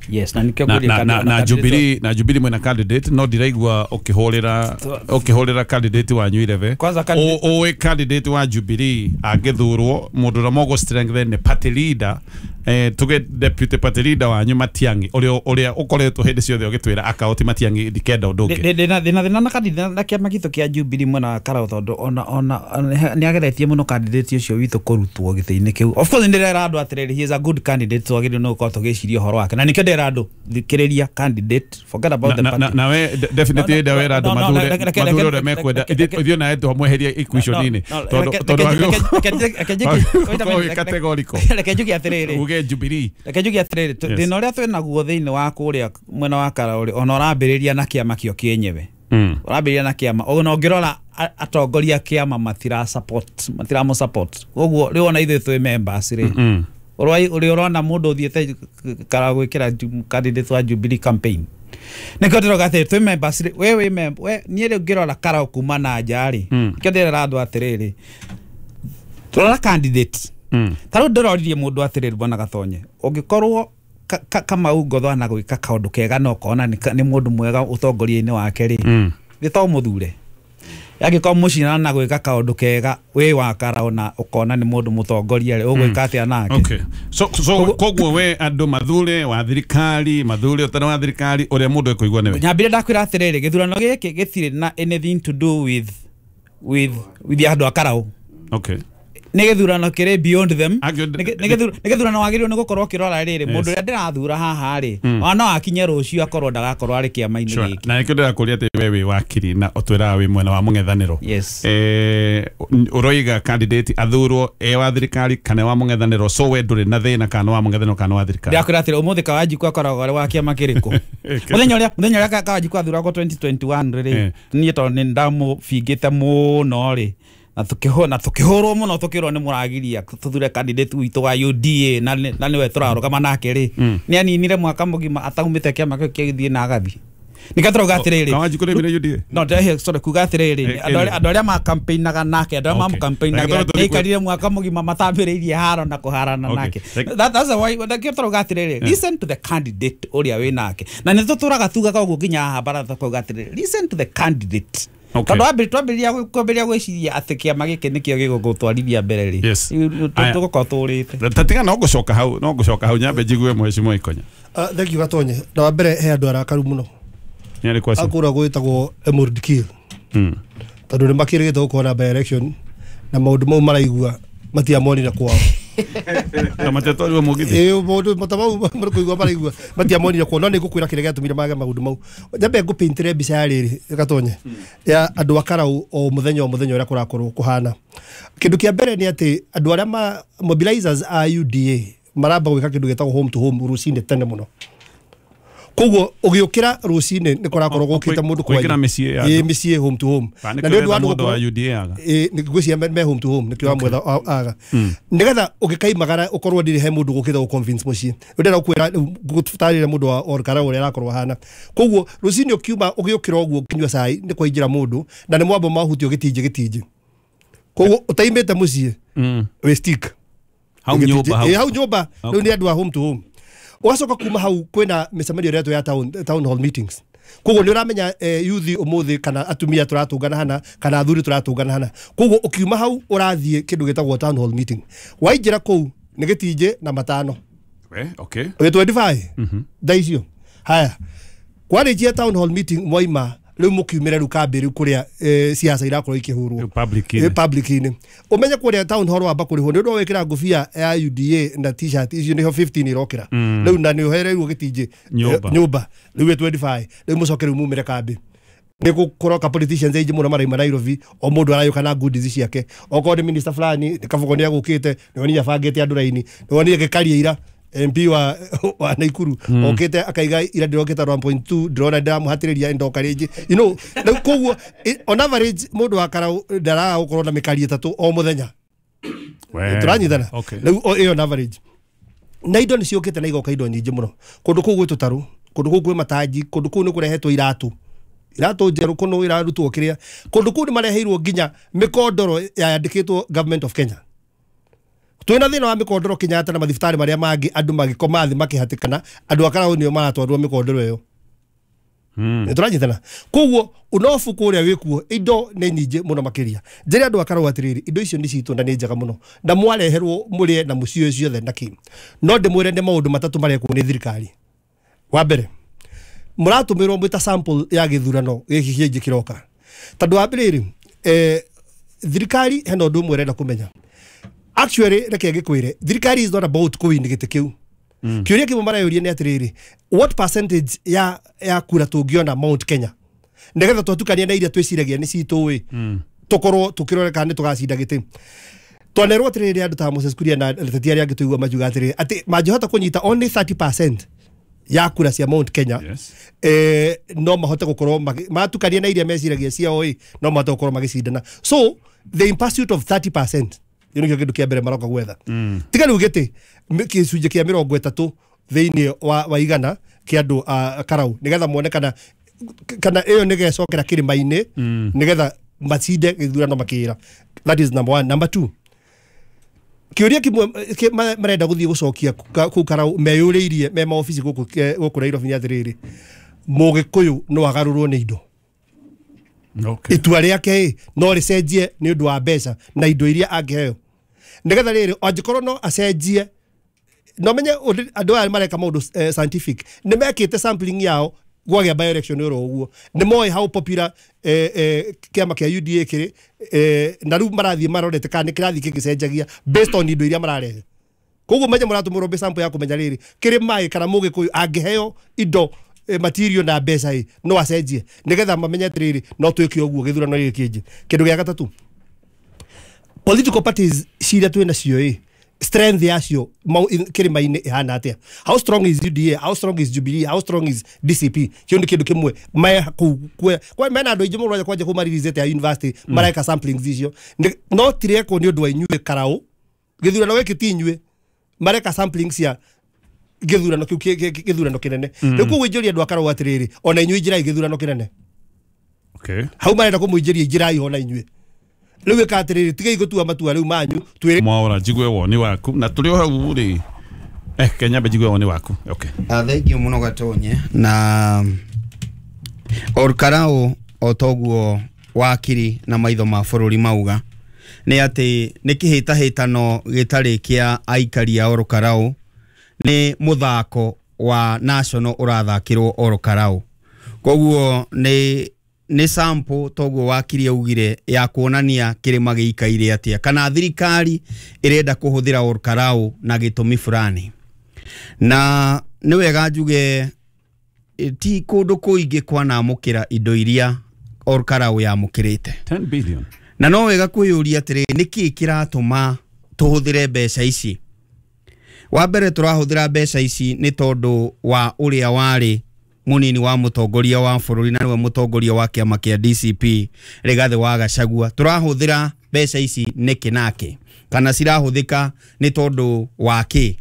[SPEAKER 4] Yes, na nikio
[SPEAKER 1] na, na, na, na Jubilee na Jubilee mwena candidate no ndiraigua ukihurira ukihurira candidate wanyu irebe o candidate wa Jubilee angithurwo mundu uria mogo strengthen ni party leader eh tuge deputy party leader wanyu Matiang'i uria uria ukoretwo hindi ciothe ugitwira akaoti Matiang'i ndikenda undu ungi
[SPEAKER 4] ndina ndina na candidate na kiama gitu kia Jubilee mwena wa Karau tondu ona ona ni ageretie muno candidate ucio witu kurutwo giti-ini kiu. Of course ndirera andu atiriri he is a good candidate twagirire no gukorwo tugiciria uhoro wake na nikio ndera andu thikiriria candidate forget about the party.
[SPEAKER 1] Na we definitely nda wera andu mathure mathure uria mekwenda ithio nawe twamweheria equation-ini tondu tondu categorical.
[SPEAKER 4] Reke njuge atiriri
[SPEAKER 1] uge Jubilee
[SPEAKER 4] reke njuge atiriri thina uria twinaguo thiini wa kuria mwena wa Karau ri ona urambiriria na kiama kio kienyewe urambiriria na kiama ona ungirora atongoria kiama matira support matira mo support koguo riu ona ithuĩ twi members ri uri urona mundu uthiete Karau gwikira candidate wa Jubilee campaign nikio ndiroga atĩrĩ twi members ri we wi member we niĩ rĩu ngĩrora Karau kuma na nja ri nikio ndĩrera andũ atĩrĩrĩ turora candidate ta rĩu ndĩroririe mũndũ atĩrĩrĩ bwana Gatonye ũngĩkorwo Kamau Ngotho ana gwĩka kaũndũ kega na ũkona nĩ mũndũ mwega ũtongoria-inĩ wake rĩ nĩ to mũthure angĩkorwo mũcinana na gwĩka kaũndũ kega wĩ wa Karau na ũkona nĩ mũndũ mũtongoria rĩ ũgwĩka atĩa nake?
[SPEAKER 1] Okay, so so koguo we andũ mathure wa thirikari mathure ũtarĩ wa thirikari ũrĩa mũndũ ekũigua nĩwe.
[SPEAKER 4] Nyambire ndakwĩra atĩrĩrĩ gĩthurano gĩkĩ gĩtirĩ na anything to do with with with andũ a Karau.
[SPEAKER 1] Okay,
[SPEAKER 4] Nĩ gĩthurano kĩrĩ beyond them.
[SPEAKER 1] Angĩ-
[SPEAKER 4] Nĩ nĩ gĩthurano wagĩrĩirwo nĩ gũkorwo ũkĩrora rĩrĩ mũndũ ũrĩa ndĩrathura haha rĩ ona no akinye rũciũ akorwo ndagakorwo arĩ kĩama-inĩ
[SPEAKER 1] Sure.
[SPEAKER 4] gĩkĩ.
[SPEAKER 1] Na nĩkĩo ndĩrakũria atĩ we wĩ wakiri na ũtwĩraga wĩ mwena wa mũng'ethanĩro.
[SPEAKER 4] Yes.
[SPEAKER 1] Eh, ũroiga candidate athurwo e wa thirikari kana wa mũng'ethanĩro, so we ndũrĩ na thĩna kana wa mũng'ethanĩro kana wa thirikari.
[SPEAKER 4] Ndĩrakwĩra atĩrĩ, ũmũthĩ Kawanjiku akoragwo arĩ wa kĩama kĩrĩkũ? Mũthenya ũrĩa mũthenya ũrĩa Ka- Kawanjiku athuragwo twenty twenty-one rĩ,
[SPEAKER 1] Eh.
[SPEAKER 4] niĩ tondũ nĩ ndamũbingĩte mũno rĩ, na tukĩhũ na tukĩhũrwo mũno tukĩrwo nĩ mũragiria tuthure candidate witũ wa U D A na nĩ- na nĩwe tũrarũgama nake rĩ, nĩ aninire mwaka mũgima ataumĩte kĩama kĩu kĩgĩthiĩ na agathiĩ. Nĩkĩo tũrauga atĩrĩrĩ,
[SPEAKER 1] Kawanjiku nĩ mire U D A?
[SPEAKER 4] No, ndĩrehe, sorry, kuga atĩrĩrĩ,
[SPEAKER 1] Eh,
[SPEAKER 4] andũ arĩa-
[SPEAKER 1] eh.
[SPEAKER 4] andũ arĩa makampeinaga nake, andũ arĩa
[SPEAKER 1] Okay.
[SPEAKER 4] mamũkampeinaga,
[SPEAKER 1] Reke tũrore
[SPEAKER 4] nĩ aikarire mwaka mũgima matambĩrĩirie haro na kũharana
[SPEAKER 1] Okay.
[SPEAKER 4] nake.
[SPEAKER 1] Reke-
[SPEAKER 4] That, that's why nĩkĩo tũrauga atĩrĩrĩ, listen to the candidate ũrĩa wĩ nake. Na nĩ tũtũraga tugaga ũguo nginya haha baratha tukauga atĩrĩrĩ, listen to the candidate.
[SPEAKER 1] Okay.
[SPEAKER 4] Tondũ wambĩrĩria, twambĩrĩria gwĩ-, kwambĩrĩria gwĩciria atĩ kĩama gĩkĩ nĩkĩo gĩgũgũtwarithia mbere rĩ,
[SPEAKER 1] Yes.
[SPEAKER 4] ĩ, ĩ,
[SPEAKER 1] Aya.
[SPEAKER 4] tũgũkorwo tũrĩte.
[SPEAKER 1] Ta tiga no ngũcoka hau, no ngũcoka hau nyambe njigue mheshimiwa Ikonya.
[SPEAKER 2] Ah, thank you Gatonye. Na wa mbere he andũ arakaru mũno.
[SPEAKER 1] Nĩ arĩkũ acio?
[SPEAKER 2] Akũra gwĩtagwo Emerald Kill.
[SPEAKER 1] Mm.
[SPEAKER 2] Tondũ nĩ makĩrĩgĩte gũkorwo na by election na maũndũ mau maraigua matiamonire kwao.
[SPEAKER 1] Na matetwarirwo mũgithi.
[SPEAKER 2] Ĩĩ, maũndũ mata mau marĩ maraigua matiamonire kwao, no nĩ ngũkwĩra kĩrĩa gĩatũmire mage maũndũ mau. Nyambe ngũpaintĩre mbica ya rĩrĩ Gatonye ya andũ a Karau o mũthenya o mũthenya ũrĩa kũrakorwo kũhana. Kĩndũ kĩa mbere nĩ atĩ andũ arĩa ma mobilizers a U D A maramba gwĩka kĩndũ gĩtagwo home to home rũcinĩ tene mũno. Koguo ũgĩũkĩra rũcinĩ nĩ kũrakorwo gũkĩte mũndũ
[SPEAKER 1] Kũingĩra
[SPEAKER 2] kwanyu.
[SPEAKER 1] mĩciĩ ya
[SPEAKER 2] Ĩĩ,
[SPEAKER 1] andũ.
[SPEAKER 2] mĩciĩ home to home.
[SPEAKER 1] Kana
[SPEAKER 2] Na
[SPEAKER 1] nĩkĩo
[SPEAKER 2] nĩ ũndũ wa
[SPEAKER 1] ũretha
[SPEAKER 2] andũ
[SPEAKER 1] mũndũ wa
[SPEAKER 2] gũkorwo
[SPEAKER 1] U D A aga.
[SPEAKER 2] Ĩĩ, nĩ ngwĩciria me-, me home to home nĩkĩo wamwetha a-, aga. Nĩgetha ũgĩkaimagara ũkorwo ndirĩ he mũndũ gũkĩte gũ convince mũciĩ. Ndĩrenda gũkwĩra rĩu ngũtarĩria mũndũ wa Ol Kalou ũrĩa arakorwo ahana. Koguo rũcinĩ ũkiuma ũgĩũkĩra ũguo ũkĩnyua cai nĩ kwaingĩra mũndũ na nĩ mwambo mahutio gĩtinjĩ gĩtinjĩ. Koguo ũtaimĩte mũciĩ
[SPEAKER 1] Mm.
[SPEAKER 2] wĩ stick.
[SPEAKER 1] Hau
[SPEAKER 2] Gĩtinjĩ.
[SPEAKER 1] nyũmba hau.
[SPEAKER 2] Ĩĩ, hau nyũmba.
[SPEAKER 1] Okay.
[SPEAKER 2] Rĩu nĩ andũ a home to home. Ũgacoka kuma hau kwĩna mĩcemanio ĩrĩa ya town, town hall meetings. Koguo nĩ ũramenya, eh, youth ũmũthĩ kana atumia tũratũngana hana kana athuri tũratũngana hana. Koguo ũkiuma hau ũrathiĩ kĩndũ gĩtagwo town hall meeting. Waingĩra kũu nĩ gĩtinjĩ na matano.
[SPEAKER 1] We, okay.
[SPEAKER 2] Ũgĩ twenty-five? Thaa icio. Haya. Kwarĩkia town hall meeting mwaima rĩu mũkiumĩre rĩu kambĩ rĩu kũrĩa, eh, siasa irakorwo ikĩhũrwo.
[SPEAKER 1] Rĩu public-inĩ.
[SPEAKER 2] Eh, public-inĩ. Ũmenye kũrĩa town hall wamba kũrĩhwo nĩ ũndũ wa gwĩkĩra ngũbia ya U D A na t-shirt icio nĩho fifteen irokĩra.
[SPEAKER 1] Mm.
[SPEAKER 2] Rĩu na nĩ ũhereirwo gĩtinjĩ,
[SPEAKER 1] Nyũmba.
[SPEAKER 2] eh, nyũmba. Rĩu ĩ twenty-five. Rĩu mũcoke rĩu mumĩre kambĩ. Nĩ gũkoroka politicians aingĩ mũno maraima Nairobi, o mũndũ arayũka na goodies ciake. Okorwo nĩ minister fulani, nĩ Kabogo nĩ agũkĩte, nĩ wonire abangĩte andũ raini, nĩ wonire gĩkaria ira M P wa, wa Naikuru
[SPEAKER 1] Mm.
[SPEAKER 2] okĩte akaiga ira ndĩrokĩte one point two, ndĩrona ndĩramũhatĩrĩria ndoka rĩngĩ. You know, rĩu koguo, i-, on average mũndũ wa Karau ndaraga gũkorwo na mĩkari ĩtatũ o mũthenya.
[SPEAKER 1] We.
[SPEAKER 2] Tũranyitana?
[SPEAKER 1] Okay.
[SPEAKER 2] Rĩu o-, ĩyo on average. Na indo nĩ ciũkĩte na igoka indo nyingĩ mũno. Kũndũ kũu gwĩ tũtarũ, kũndũ kũu kwĩ matangi, kũndũ kũu nĩ kũrehetwo iratũ. Iratũ njerũ kũno irarutwo kĩrĩa. Kũndũ kũu nĩ mareheirwo nginya mĩkondoro yandĩkĩtwo Government of Kenya. Twĩna thĩna wa mĩkondoro Kenyatta na mathibitarĩ marĩa mangĩ, andũ magĩkoma thĩ makĩhatĩkana, andũ a Karau nĩo maratwarwo mĩkondoro ĩyo.
[SPEAKER 1] Mm.
[SPEAKER 2] Nĩ tũranyitana? Koguo ũnobu kũrĩa wĩkuo indo nĩ nyingĩ mũno makĩria. Njĩre andũ a Karau atĩrĩrĩ, indo icio nĩ citũ na nĩ njega mũno na mwareherwo mũrĩe na mũcioe ciothe na kĩ. No ndĩmwĩre nĩ maũndũ matatũ marekwo nĩ thirikari. Wa mbere, mũratũmĩrwo mwĩ ta sample ya gĩthurano gĩkĩ kĩngĩ kĩroka. Tondũ wa mbere rĩ, eh, thirikari hena ũndũ ũmwe ĩrenda kũmenya. Actually, reke ngĩkwĩre, thirikari is not about kũwin gĩtĩ kĩu.
[SPEAKER 1] Mm.
[SPEAKER 2] Kĩũria kĩmwe mareyũria nĩ atĩrĩrĩ, what percentage ya, ya kura tũngĩona Mount Kenya nĩgetha twatukania na iria twĩciragia nĩ citũ ĩ,
[SPEAKER 1] Mm.
[SPEAKER 2] tũkorwo tũkĩrore kana nĩ tũgacinda gĩtĩ. Twanerwo atĩrĩrĩ, andũ ta Moses Kuria na ateti arĩa angĩ tũigua makiuga atĩrĩrĩ, atĩ mangĩhota kũnyita only thirty percent ya kura cia Mount Kenya,
[SPEAKER 1] Yes.
[SPEAKER 2] eh, no mahote gũkorwo magi-, matukania na iria meciragia ciao ĩ, no mahote gũkorwo magĩcindana. So the in pursuit of thirty percent, ĩyo nĩkĩo kĩndũ kĩa mbere maroka gwetha.
[SPEAKER 1] Mm.
[SPEAKER 2] Tiga rĩu gĩtĩ, mĩ-, gĩcunjĩ kĩa mĩrongo ĩtatũ thĩinĩ wa, wa igana kĩa andũ a Karau, nĩgetha mone kana, kana ĩyo nĩgecokera kĩrĩma-inĩ,
[SPEAKER 1] Mm.
[SPEAKER 2] nĩgetha macinde gĩthurano makĩra. That is number one. Number two, kĩũria kĩmwe kĩ-, ma-, marenda gũthiĩ gũcokia ka-, kũu Karau meyũrĩirie me maobici gũkũ ke-, gũkũ Nairobi nĩ atĩrĩrĩ, Mũgĩkũyũ no agarũrwo nĩ indo.
[SPEAKER 1] Okay.
[SPEAKER 2] Itua rĩake ĩ, no rĩcenjie nĩ ũndũ wa mbeca na indo iria angĩheo. Nĩgetha rĩrĩ, angĩkorwo no acenjie, no menye ũndũ, andũ aya mareka maũndũ, eh, scientific, nĩ mekĩte sampling yao Gwagĩa by election oro ũguo nĩ moĩ how popular eh, eh, kĩama kĩa U D A kĩrĩ eh, na rĩu marathiĩ marorete kana nĩ kĩrathiĩ gĩgĩcenjagia based on indo iria mararehe. Koguo menye mũratũmũrwo mbe sample ya kũmenya rĩrĩ kĩrĩ maĩ kana mũgĩkũyũ angĩheo indo eh, material na mbeca ĩ no acenjie nĩgetha mamenye atĩrĩrĩ no twĩke ũguo gĩthurano gĩkĩ kĩngĩ. Kĩndũ gĩa gatatũ, political parties ciria twĩ nacio ĩ strength yacio kĩrĩma-inĩ ĩhana atĩa? How strong is U D A? How strong is Jubilee? How strong is D C P? Kĩu nĩ kĩndũ kĩmwe me kũu kwa mena andũ aingĩ mũno kwanja kũu maririzĩte ya university mareka samplings icio no tirekwo nĩ ũndũ wa inyuĩ Karau gĩthurano gĩkĩ ti inyuĩ mareka samplings cia gĩthurano kĩu gĩthurano kĩnene. Rĩu koguo injũria andũ a Karau atĩrĩrĩ ona inyuĩ injĩrai gĩthurano kĩnene.
[SPEAKER 1] Okay.
[SPEAKER 2] Hau marenda kũmũingĩria injĩrai ona inyuĩ. Rĩu ĩka atĩrĩrĩ tigai gũtua matua rĩu manyu twĩre
[SPEAKER 1] Mwaura njigue woni waku na tũrĩ o hau rĩ eh Kenya njigue woni waku. Okay.
[SPEAKER 3] Ah, thank you mũno Gatonye na Ol Kalou o toguo wakiri na maitho ma bũrũri mauga nĩ atĩ nĩ kĩhĩtahĩtano gĩtarĩ kĩa aikari a Ol Kalou, nĩ mũthako wa national ũrathakĩrwo Ol Kalou. Koguo nĩ nĩ sample toguo wakiri augire ya kuonania kĩrĩma gĩikaire atĩa kana thirikari ĩrenda kũhũthĩra Ol Kalou na gĩtũmi fulani. Na nĩ wega njuge ti kũndũ kũingĩ kwanamũkĩra indo iria Ol Kalou yamũkĩrĩte
[SPEAKER 1] ten billion.
[SPEAKER 3] Na no wega kwĩyũria atĩrĩ nĩkĩ kĩratũma tũhũthĩre mbeca ici. Wa mbere tũrahũthĩra mbeca ici nĩ tondũ wa ũrĩa warĩ munini wa mũtongoria wa bũrũri na nĩwe mũtongoria wa kĩama kĩa D C P Rigathĩ wa Gachagua. Tũrahũthĩra mbeca ici nĩkĩ nake kana cirahũthĩka nĩ tondũ wa kĩ,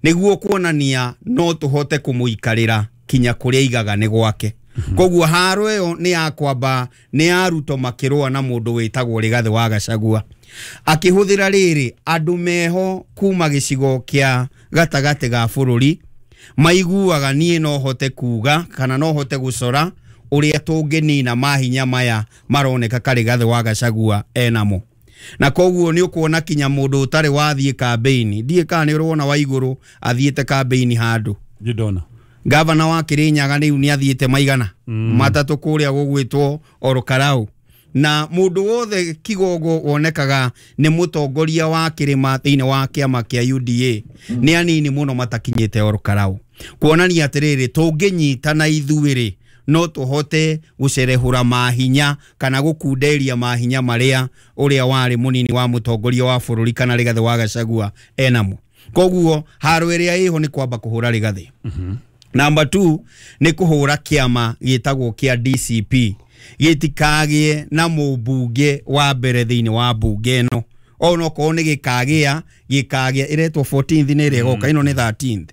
[SPEAKER 3] nĩguo kuonania no tũhote kũmũikarĩra kinya kũrĩa aigaga nĩ gwake. Koguo haro ĩyo nĩ ya kwamba nĩ ya Ruto makĩrũa na mũndũ wĩtagwo Rigathĩ wa Gachagua akĩhũthĩra rĩrĩ andũ meho kuma gĩcigo kĩa gatagatĩ ga bũrũri maiguaga niĩ no hote kuga kana no hote gũcora ũrĩa tũngĩnina mahinya maya maroneka Rigathĩ wa Gachagua enamo. Na koguo nĩ ũkuona kinya mũndũ ũtarĩ wathiĩ kambĩini, ndiĩ kana nĩ ũrona wa igũrũ athiĩte kambĩini handũ
[SPEAKER 1] ndona
[SPEAKER 3] gavana wa Kirinyaga rĩu nĩ athiĩte maigana mm. matatũ kũrĩa gũgwĩtwo Ol Kalou. Na mũndũ wothe Kigogo wonekaga nĩ mũtongoria wa kĩrĩma thĩinĩ wa kĩama kĩa U D A nĩ anini mũno matakinyĩte Ol Kalou, kuonania atĩrĩrĩ tũngĩnyitana ithuĩ no tũhote gũcerehũra mahinya kana gũkunderia mahinya marĩa ũrĩa warĩ mũnini wa mũtongoria wa bũrũri kana Rigathĩ wa Gachagua enamo. Koguo haro ĩrĩa ĩho nĩ kwamba kũhũra Rigathĩ. Mm-hmm. Number two nĩ kũhũra kĩama gĩtagwo kĩa D C P gĩtikagie na mũmbunge wa mbere thĩinĩ wa mbunge ĩno ona okorwo nĩ gĩkagĩa gĩkagĩa ĩretwo fourteenth nĩ ĩrĩa ĩgoka ĩno nĩ thirteenth.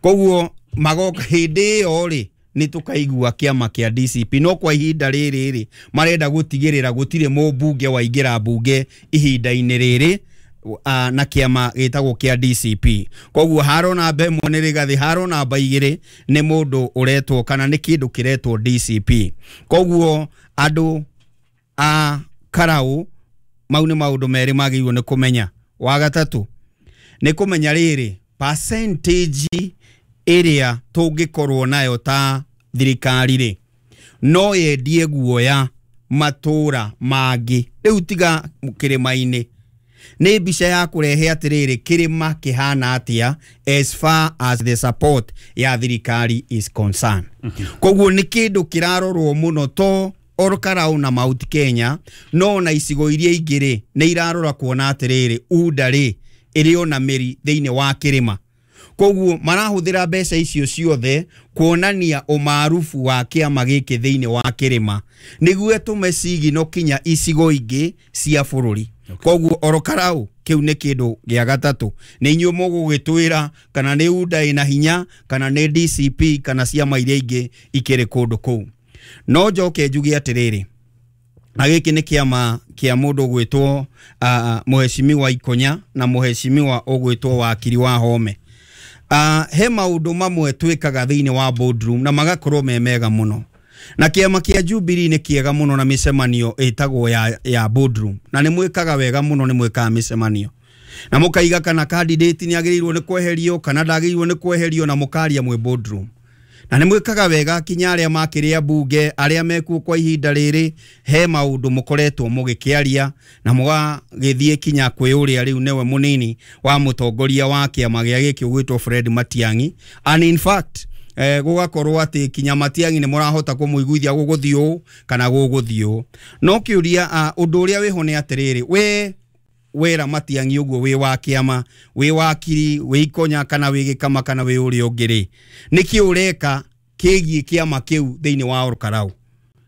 [SPEAKER 3] Koguo magoka hĩndĩ ĩyo rĩ nĩ tũkaigua kĩama kĩa D C P, no kwa ihinda rĩrĩ rĩ marenda gũtigĩrĩra gũtirĩ mũmbunge waingĩra mbunge ihinda-inĩ rĩrĩ na kĩama gĩtagwo kĩa D C P. Koguo haro namba ĩmwe nĩ Rigathĩ, haro namba igĩrĩ nĩ mũndũ ũretwo kana nĩ kĩndũ kĩretwo D C P. Koguo andũ a Karau mau nĩ maũndũ merĩ magĩrĩirwo nĩ kũmenya. Wa gatatũ nĩ kũmenya rĩrĩ percentage ĩrĩa tũngĩkorwo nayo ta thirikari rĩ no yendie guoya matũra mangĩ rĩu tiga kĩrĩma-inĩ. Nĩ mbica ya kũrehe atĩrĩrĩ kĩrĩma kĩhana atĩa as far as the support ya thirikari is concerned. Mm -hmm. Koguo nĩ kĩndũ kĩrarorwo mũno to Ol Kalou na Mount Kenya no na icigo iria ingĩ rĩ nĩ irarora kuona atĩrĩrĩ U D A rĩ ĩrĩ ona mĩri thĩinĩ wa kĩrĩma. Koguo marahũthĩra mbeca icio ciothe kuonania ũmaarufu wa kĩama gĩkĩ thĩinĩ wa kĩrĩma nĩguo tũme cigino kinya icigo ingĩ cia bũrũri. Koguo Ol Kalou kĩu nĩ kĩndũ gĩa gatatũ nĩ inyuĩ mũgũgĩtwĩra kana nĩ U D A ĩna hinya kana nĩ D C P kana ciama iria ingĩ ikĩrĩ kũndũ kũu. No njoke njuge atĩrĩrĩ na gĩkĩ nĩ kĩama kĩa mũndũ ũgwĩtwo uh, mũheshimiwa Ikonya na mũheshimiwa ũgwĩtwo Wakiri wa Home. Uh, he maũndũ mamwe twĩkaga thĩinĩ wa boardroom na magakorwo me mega mũno. Na kĩama kĩa Jubilee nĩ kĩega mũno na mĩcemanio ĩtagwo ya, ya boardroom na nĩ mwĩkaga wega mũno, nĩ mwĩkaga mĩcemanio na mũkaiga kana candidate nĩ agĩrĩirwo nĩ kweherio kana ndagĩrĩirwo nĩ kweherio na mũkaria mwĩ boardroom. Na nĩ mwĩkaga wega kinya arĩa makĩrĩa mbunge arĩa mekuo kwa ihinda rĩrĩ he maũndũ mũkoretwo mũgĩkĩaria na mũgagĩthiĩ kinya kwĩ ũrĩa rĩu nĩwe mũnini wa mũtongoria wa kĩama gĩa gĩkĩ ũgwĩtwo Fred Matiang'i. And in fact eh, gũgakorwo atĩ kinya Matiang'i nĩ mũrahota kũmũiguithia gũgũthiĩ ũũ kana gũgũthiĩ ũũ. No kĩũria ũndũ ũrĩa wĩho nĩ atĩrĩrĩ, we wera Matiang'i ũguo wĩ wa kĩama, wĩ wakiri, wĩ ikonya kana wĩ gĩkama kana wĩ ũrĩa ũngĩ rĩ, nĩkĩ ũreka kĩgiĩ kĩama kĩu thĩinĩ wa Olkarau?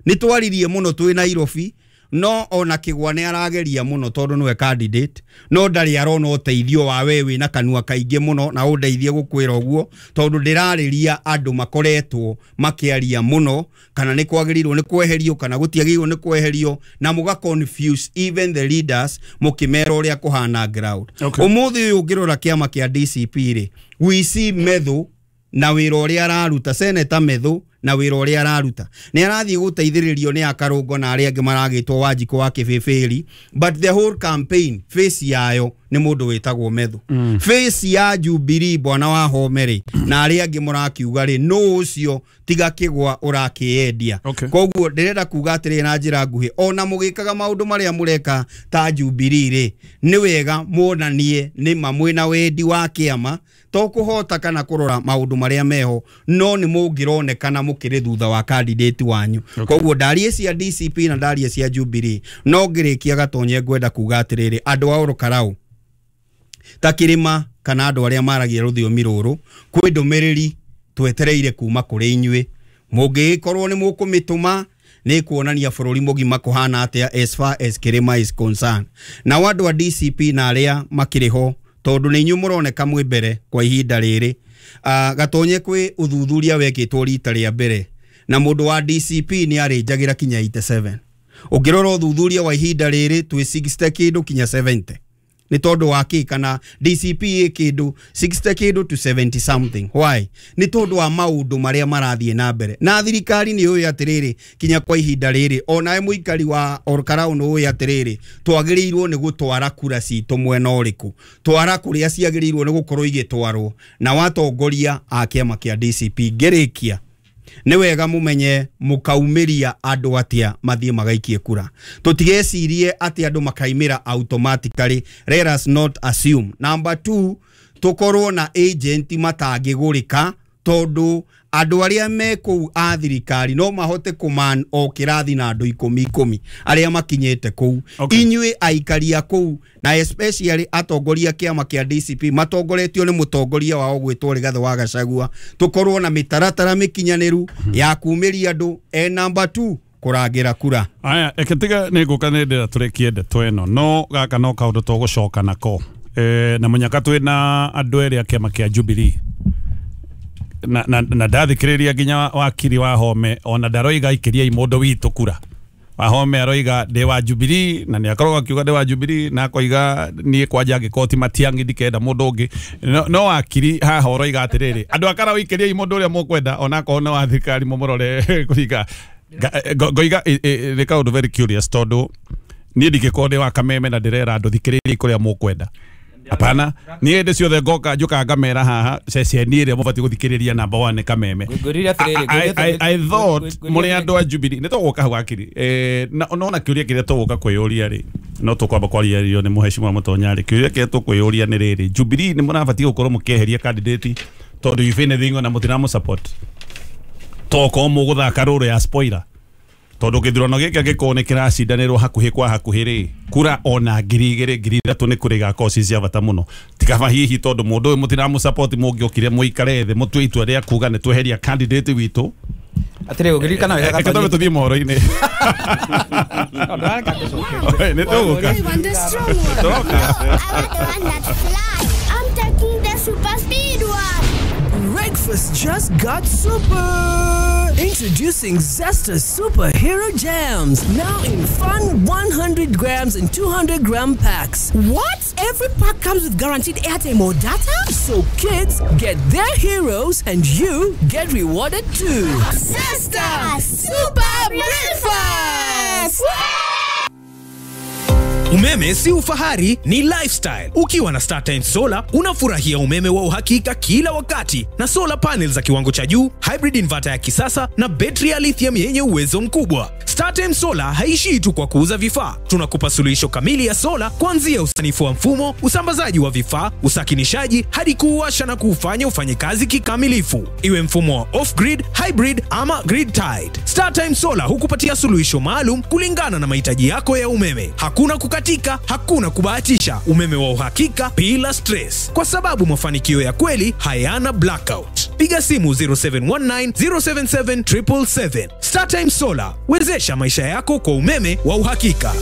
[SPEAKER 3] Nĩ twaririe mũno twĩ Nairobi, no ona Kĩgwa nĩ arageria mũno tondũ nĩwe candidate, no ndarĩ arona ũteithio wa we wĩna kanua kaingĩ mũno, na ũndeithie gũkwĩra ũguo tondũ ndĩrarĩria andũ makoretwo makĩaria mũno kana nĩ kwagĩrĩirwo nĩ kweherio kana gũtiagĩrĩirwo nĩ kweherio, na mũga confuse even the leaders mũkĩmera ũrĩa kũhana ground.
[SPEAKER 1] Okay.
[SPEAKER 3] Ũmũthĩ ũyũ ũngĩrora kĩama kĩa D C P rĩ, we see Methu na wĩra ũrĩa araruta, Senator Methu na wĩra ũrĩa araruta nĩ arathiĩ gũteithĩrĩrio nĩ akarũngo na arĩa angĩ maragĩtwo Wanjikũ wa Kĩbĩbĩri, but the whole campaign face yayo nĩ mũndũ wĩtagwo Methu. mm. Face ya Jubilee bwana wa Home rĩ na arĩa angĩ mũrakiuga rĩ, nũ ũcio tiga Kĩgwa ũrakĩendia.
[SPEAKER 1] Okay.
[SPEAKER 3] Koguo ndĩrenda kuga atĩrĩ na njĩra nguhĩ, ona mũgĩkaga maũndũ marĩa mũreka ta Jubilee rĩ, nĩ wega muonanie nĩ ma mwĩna wendi wa kĩama, to kũhota kana kũrora maũndũ marĩa meho, no nĩ mũngĩronekana mũkĩrĩ thutha wa candidate wanyu.
[SPEAKER 1] Okay.
[SPEAKER 3] Koguo ndarie cia D C P na ndarie cia Jubilee, no ngĩrĩkia Gatonye ngwenda kuga atĩrĩrĩ, andũ a Olkarau ta kĩrĩma kana andũ arĩa maragia rũthiomi rũrũ, kwĩ ndũmĩrĩri twetereire kuma kũrĩ inyuĩ, mũngĩgĩkorwo nĩ mũkũmĩtũma nĩ kuonania bũrũri mũgima kũhana atĩa as far as kĩrĩma is concerned. Nao andũ a D C P na arĩa makĩrĩ ho, tondũ nĩ inyuĩ mũroneka mwĩ mbere kwa ihinda rĩrĩ, uh, Gatonye kwĩ ũthuthuria wekĩtwo rita rĩa mbere na mũndũ wa D C P nĩ arĩnjagĩra kinya eighty-seven. Ũngĩrora ũthuthuria wa ihinda rĩrĩ twĩ sixty kĩndũ kinya seventy. Nĩ tondũ wa kĩ? Kana D C P ĩ kĩndũ sixty kĩndũ to seventy something. Why? Nĩ tondũ wa maũndũ marĩa marathiĩ na mbere. Na thirikari nĩ yũĩ atĩrĩrĩ kinya kwa ihinda rĩrĩ, onawe mũikari wa Olkarau nĩ ũĩ atĩrĩrĩ, twagĩrĩirwo nĩ gũtwara kura citũ mwena ũrĩkũ, twara kũrĩa ciagĩrĩirwo nĩ gũkorwo igĩtwarwo na watongoria a kĩama kĩa D C P. Ngĩrĩkia, nĩ wega mũmenye mũkaumĩria andũ atĩa mathiĩ magaikie kura. Tũtigecirie atĩ andũ makaimĩra automatically. Let us not assume. Number two, tũkorwo na agent matangĩgũrĩka, tondũ andũ arĩa me kũu a thirikari no mahote kũman o kĩrathi na andũ ikũmi ikũmi arĩa makinyĩte kũu.
[SPEAKER 1] Okay.
[SPEAKER 3] Inyuĩ aikari a kũu na especially atongoria kĩama kĩa D C P matongoretio nĩ mũtongoria wao gwĩtwo Rigathĩ wa Gachagua, tũkorwo na mĩtaratara mĩkinyanĩru ya kumĩria andũ. E number two, kũrangĩra kura.
[SPEAKER 1] Aya, ĩkĩtiga nĩ ngũka nĩ ndĩra tũrĩkie ndeto ĩno, no gaka no kaũndũ tũgũcoka nako. E, na mũnyaka twĩ na andũ erĩ a kĩama kĩa Jubilee na na, na ndathikĩrĩria nginya wakiri wa Home ona ndaroiga ikĩriai mũndũ witũ kura. Wahome aroiga ndĩ wa Jubilee na nĩ akoragwo akiuga ndĩ wa Jubilee na akoiga niĩ kwanja angĩkorwo ti Matiang'i ndikenda mũndũ ũngĩ. No, no wakiri haha ũroiga atĩrĩrĩ, andũ a Karau ikĩriai mũndũ ũrĩa mũkwenda ona akorwo nĩ wa thirikari mũmũrore kũringa. Ngoiga nĩ kaũndũ very curious tondũ niĩ ndingĩkorwo ndĩ wa Kameme na ndĩrera andũ thikĩrĩriai kũrĩa mũkwenda. Hapana, niĩ hĩndĩ ciothe ngoka njũkaga ngamera haha ceceni ĩrĩa mũbatiĩ gũthikĩrĩria number one nĩ Kameme.
[SPEAKER 4] Ngwĩrire atĩrĩrĩ,
[SPEAKER 1] I, I, I thought mũrĩ andũ a Jubilee nĩ tũgũka hau akiri. Eh, na nona kĩũria kĩrĩa tũgũka kwĩyũria rĩ, no tũkwamba kwaria rĩo nĩ mũhecimiwa Mũtonya rĩ, kĩũria kĩrĩa tũkwĩyũria nĩ rĩrĩ, Jubilee nĩ mũrabatiĩ gũkorwo mũkĩeheria candidate tondũ if anything ona mũtiramũ support, tokorwo mũgũthaka rũrũ ya spoiler, tondũ gĩthurano gĩkĩ angĩkorwo nĩ kĩracindanĩrwo hakuhĩ kwa hakuhĩ rĩ, kura ona ngiri igĩrĩ ngiri ithatũ nĩ kũrĩ igakorwo ci cia bata mũno. Tikaba hihi tondũ mũndũ ũyũ mũtiramũ support mũngĩokire mũikare thĩ mũtue itua rĩa kuga nĩ tweheria candidate witũ.
[SPEAKER 4] Atĩrĩ, ũngĩririkana wega
[SPEAKER 1] Reke twambe tũthiĩ mohoro-inĩ.
[SPEAKER 4] No, ndũrareka ngũcokerie.
[SPEAKER 1] Nĩ tũgũka.
[SPEAKER 6] I want the strong one.
[SPEAKER 1] Tũroka.
[SPEAKER 7] No, I want the one that flies. I'm taking the super speed one.
[SPEAKER 8] Breakfast just got super! Introducing Zesta Superhero Jams, now in fun one hundred grams and two hundred gram packs.
[SPEAKER 9] What? Every pack comes with guaranteed airtime or data?
[SPEAKER 8] So kids get their heroes and you get rewarded too.
[SPEAKER 9] Zesta Super Breakfast!
[SPEAKER 10] Umeme si ufahari, ni lifestyle. Ukiwa na StarTimes Solar unafurahia umeme wa uhakika kila wakati na solar panels za kiwango cha juu, hybrid inverter ya kisasa na betri ya lithium yenye uwezo mkubwa. StarTimes Solar haishii tu kwa kuuza vifaa. Tunakupa suluhisho kamili ya sola kuanzia usanifu wa mfumo, usambazaji wa vifaa, usakinishaji hadi kuuwasha na kuufanya ufanye kazi kikamilifu. Iwe mfumo wa off grid, hybrid ama grid tied. StarTimes Solar hukupatia suluhisho maalum kulingana na mahitaji yako ya umeme. Hakuna kukatika, hakuna kubahatisha. Umeme wa uhakika bila stress, kwa sababu mafanikio ya kweli hayana blackout. Piga simu zero seven one nine, zero seven seven, triple seven. StarTimes Solar, wezesha maisha yako kwa umeme wa uhakika.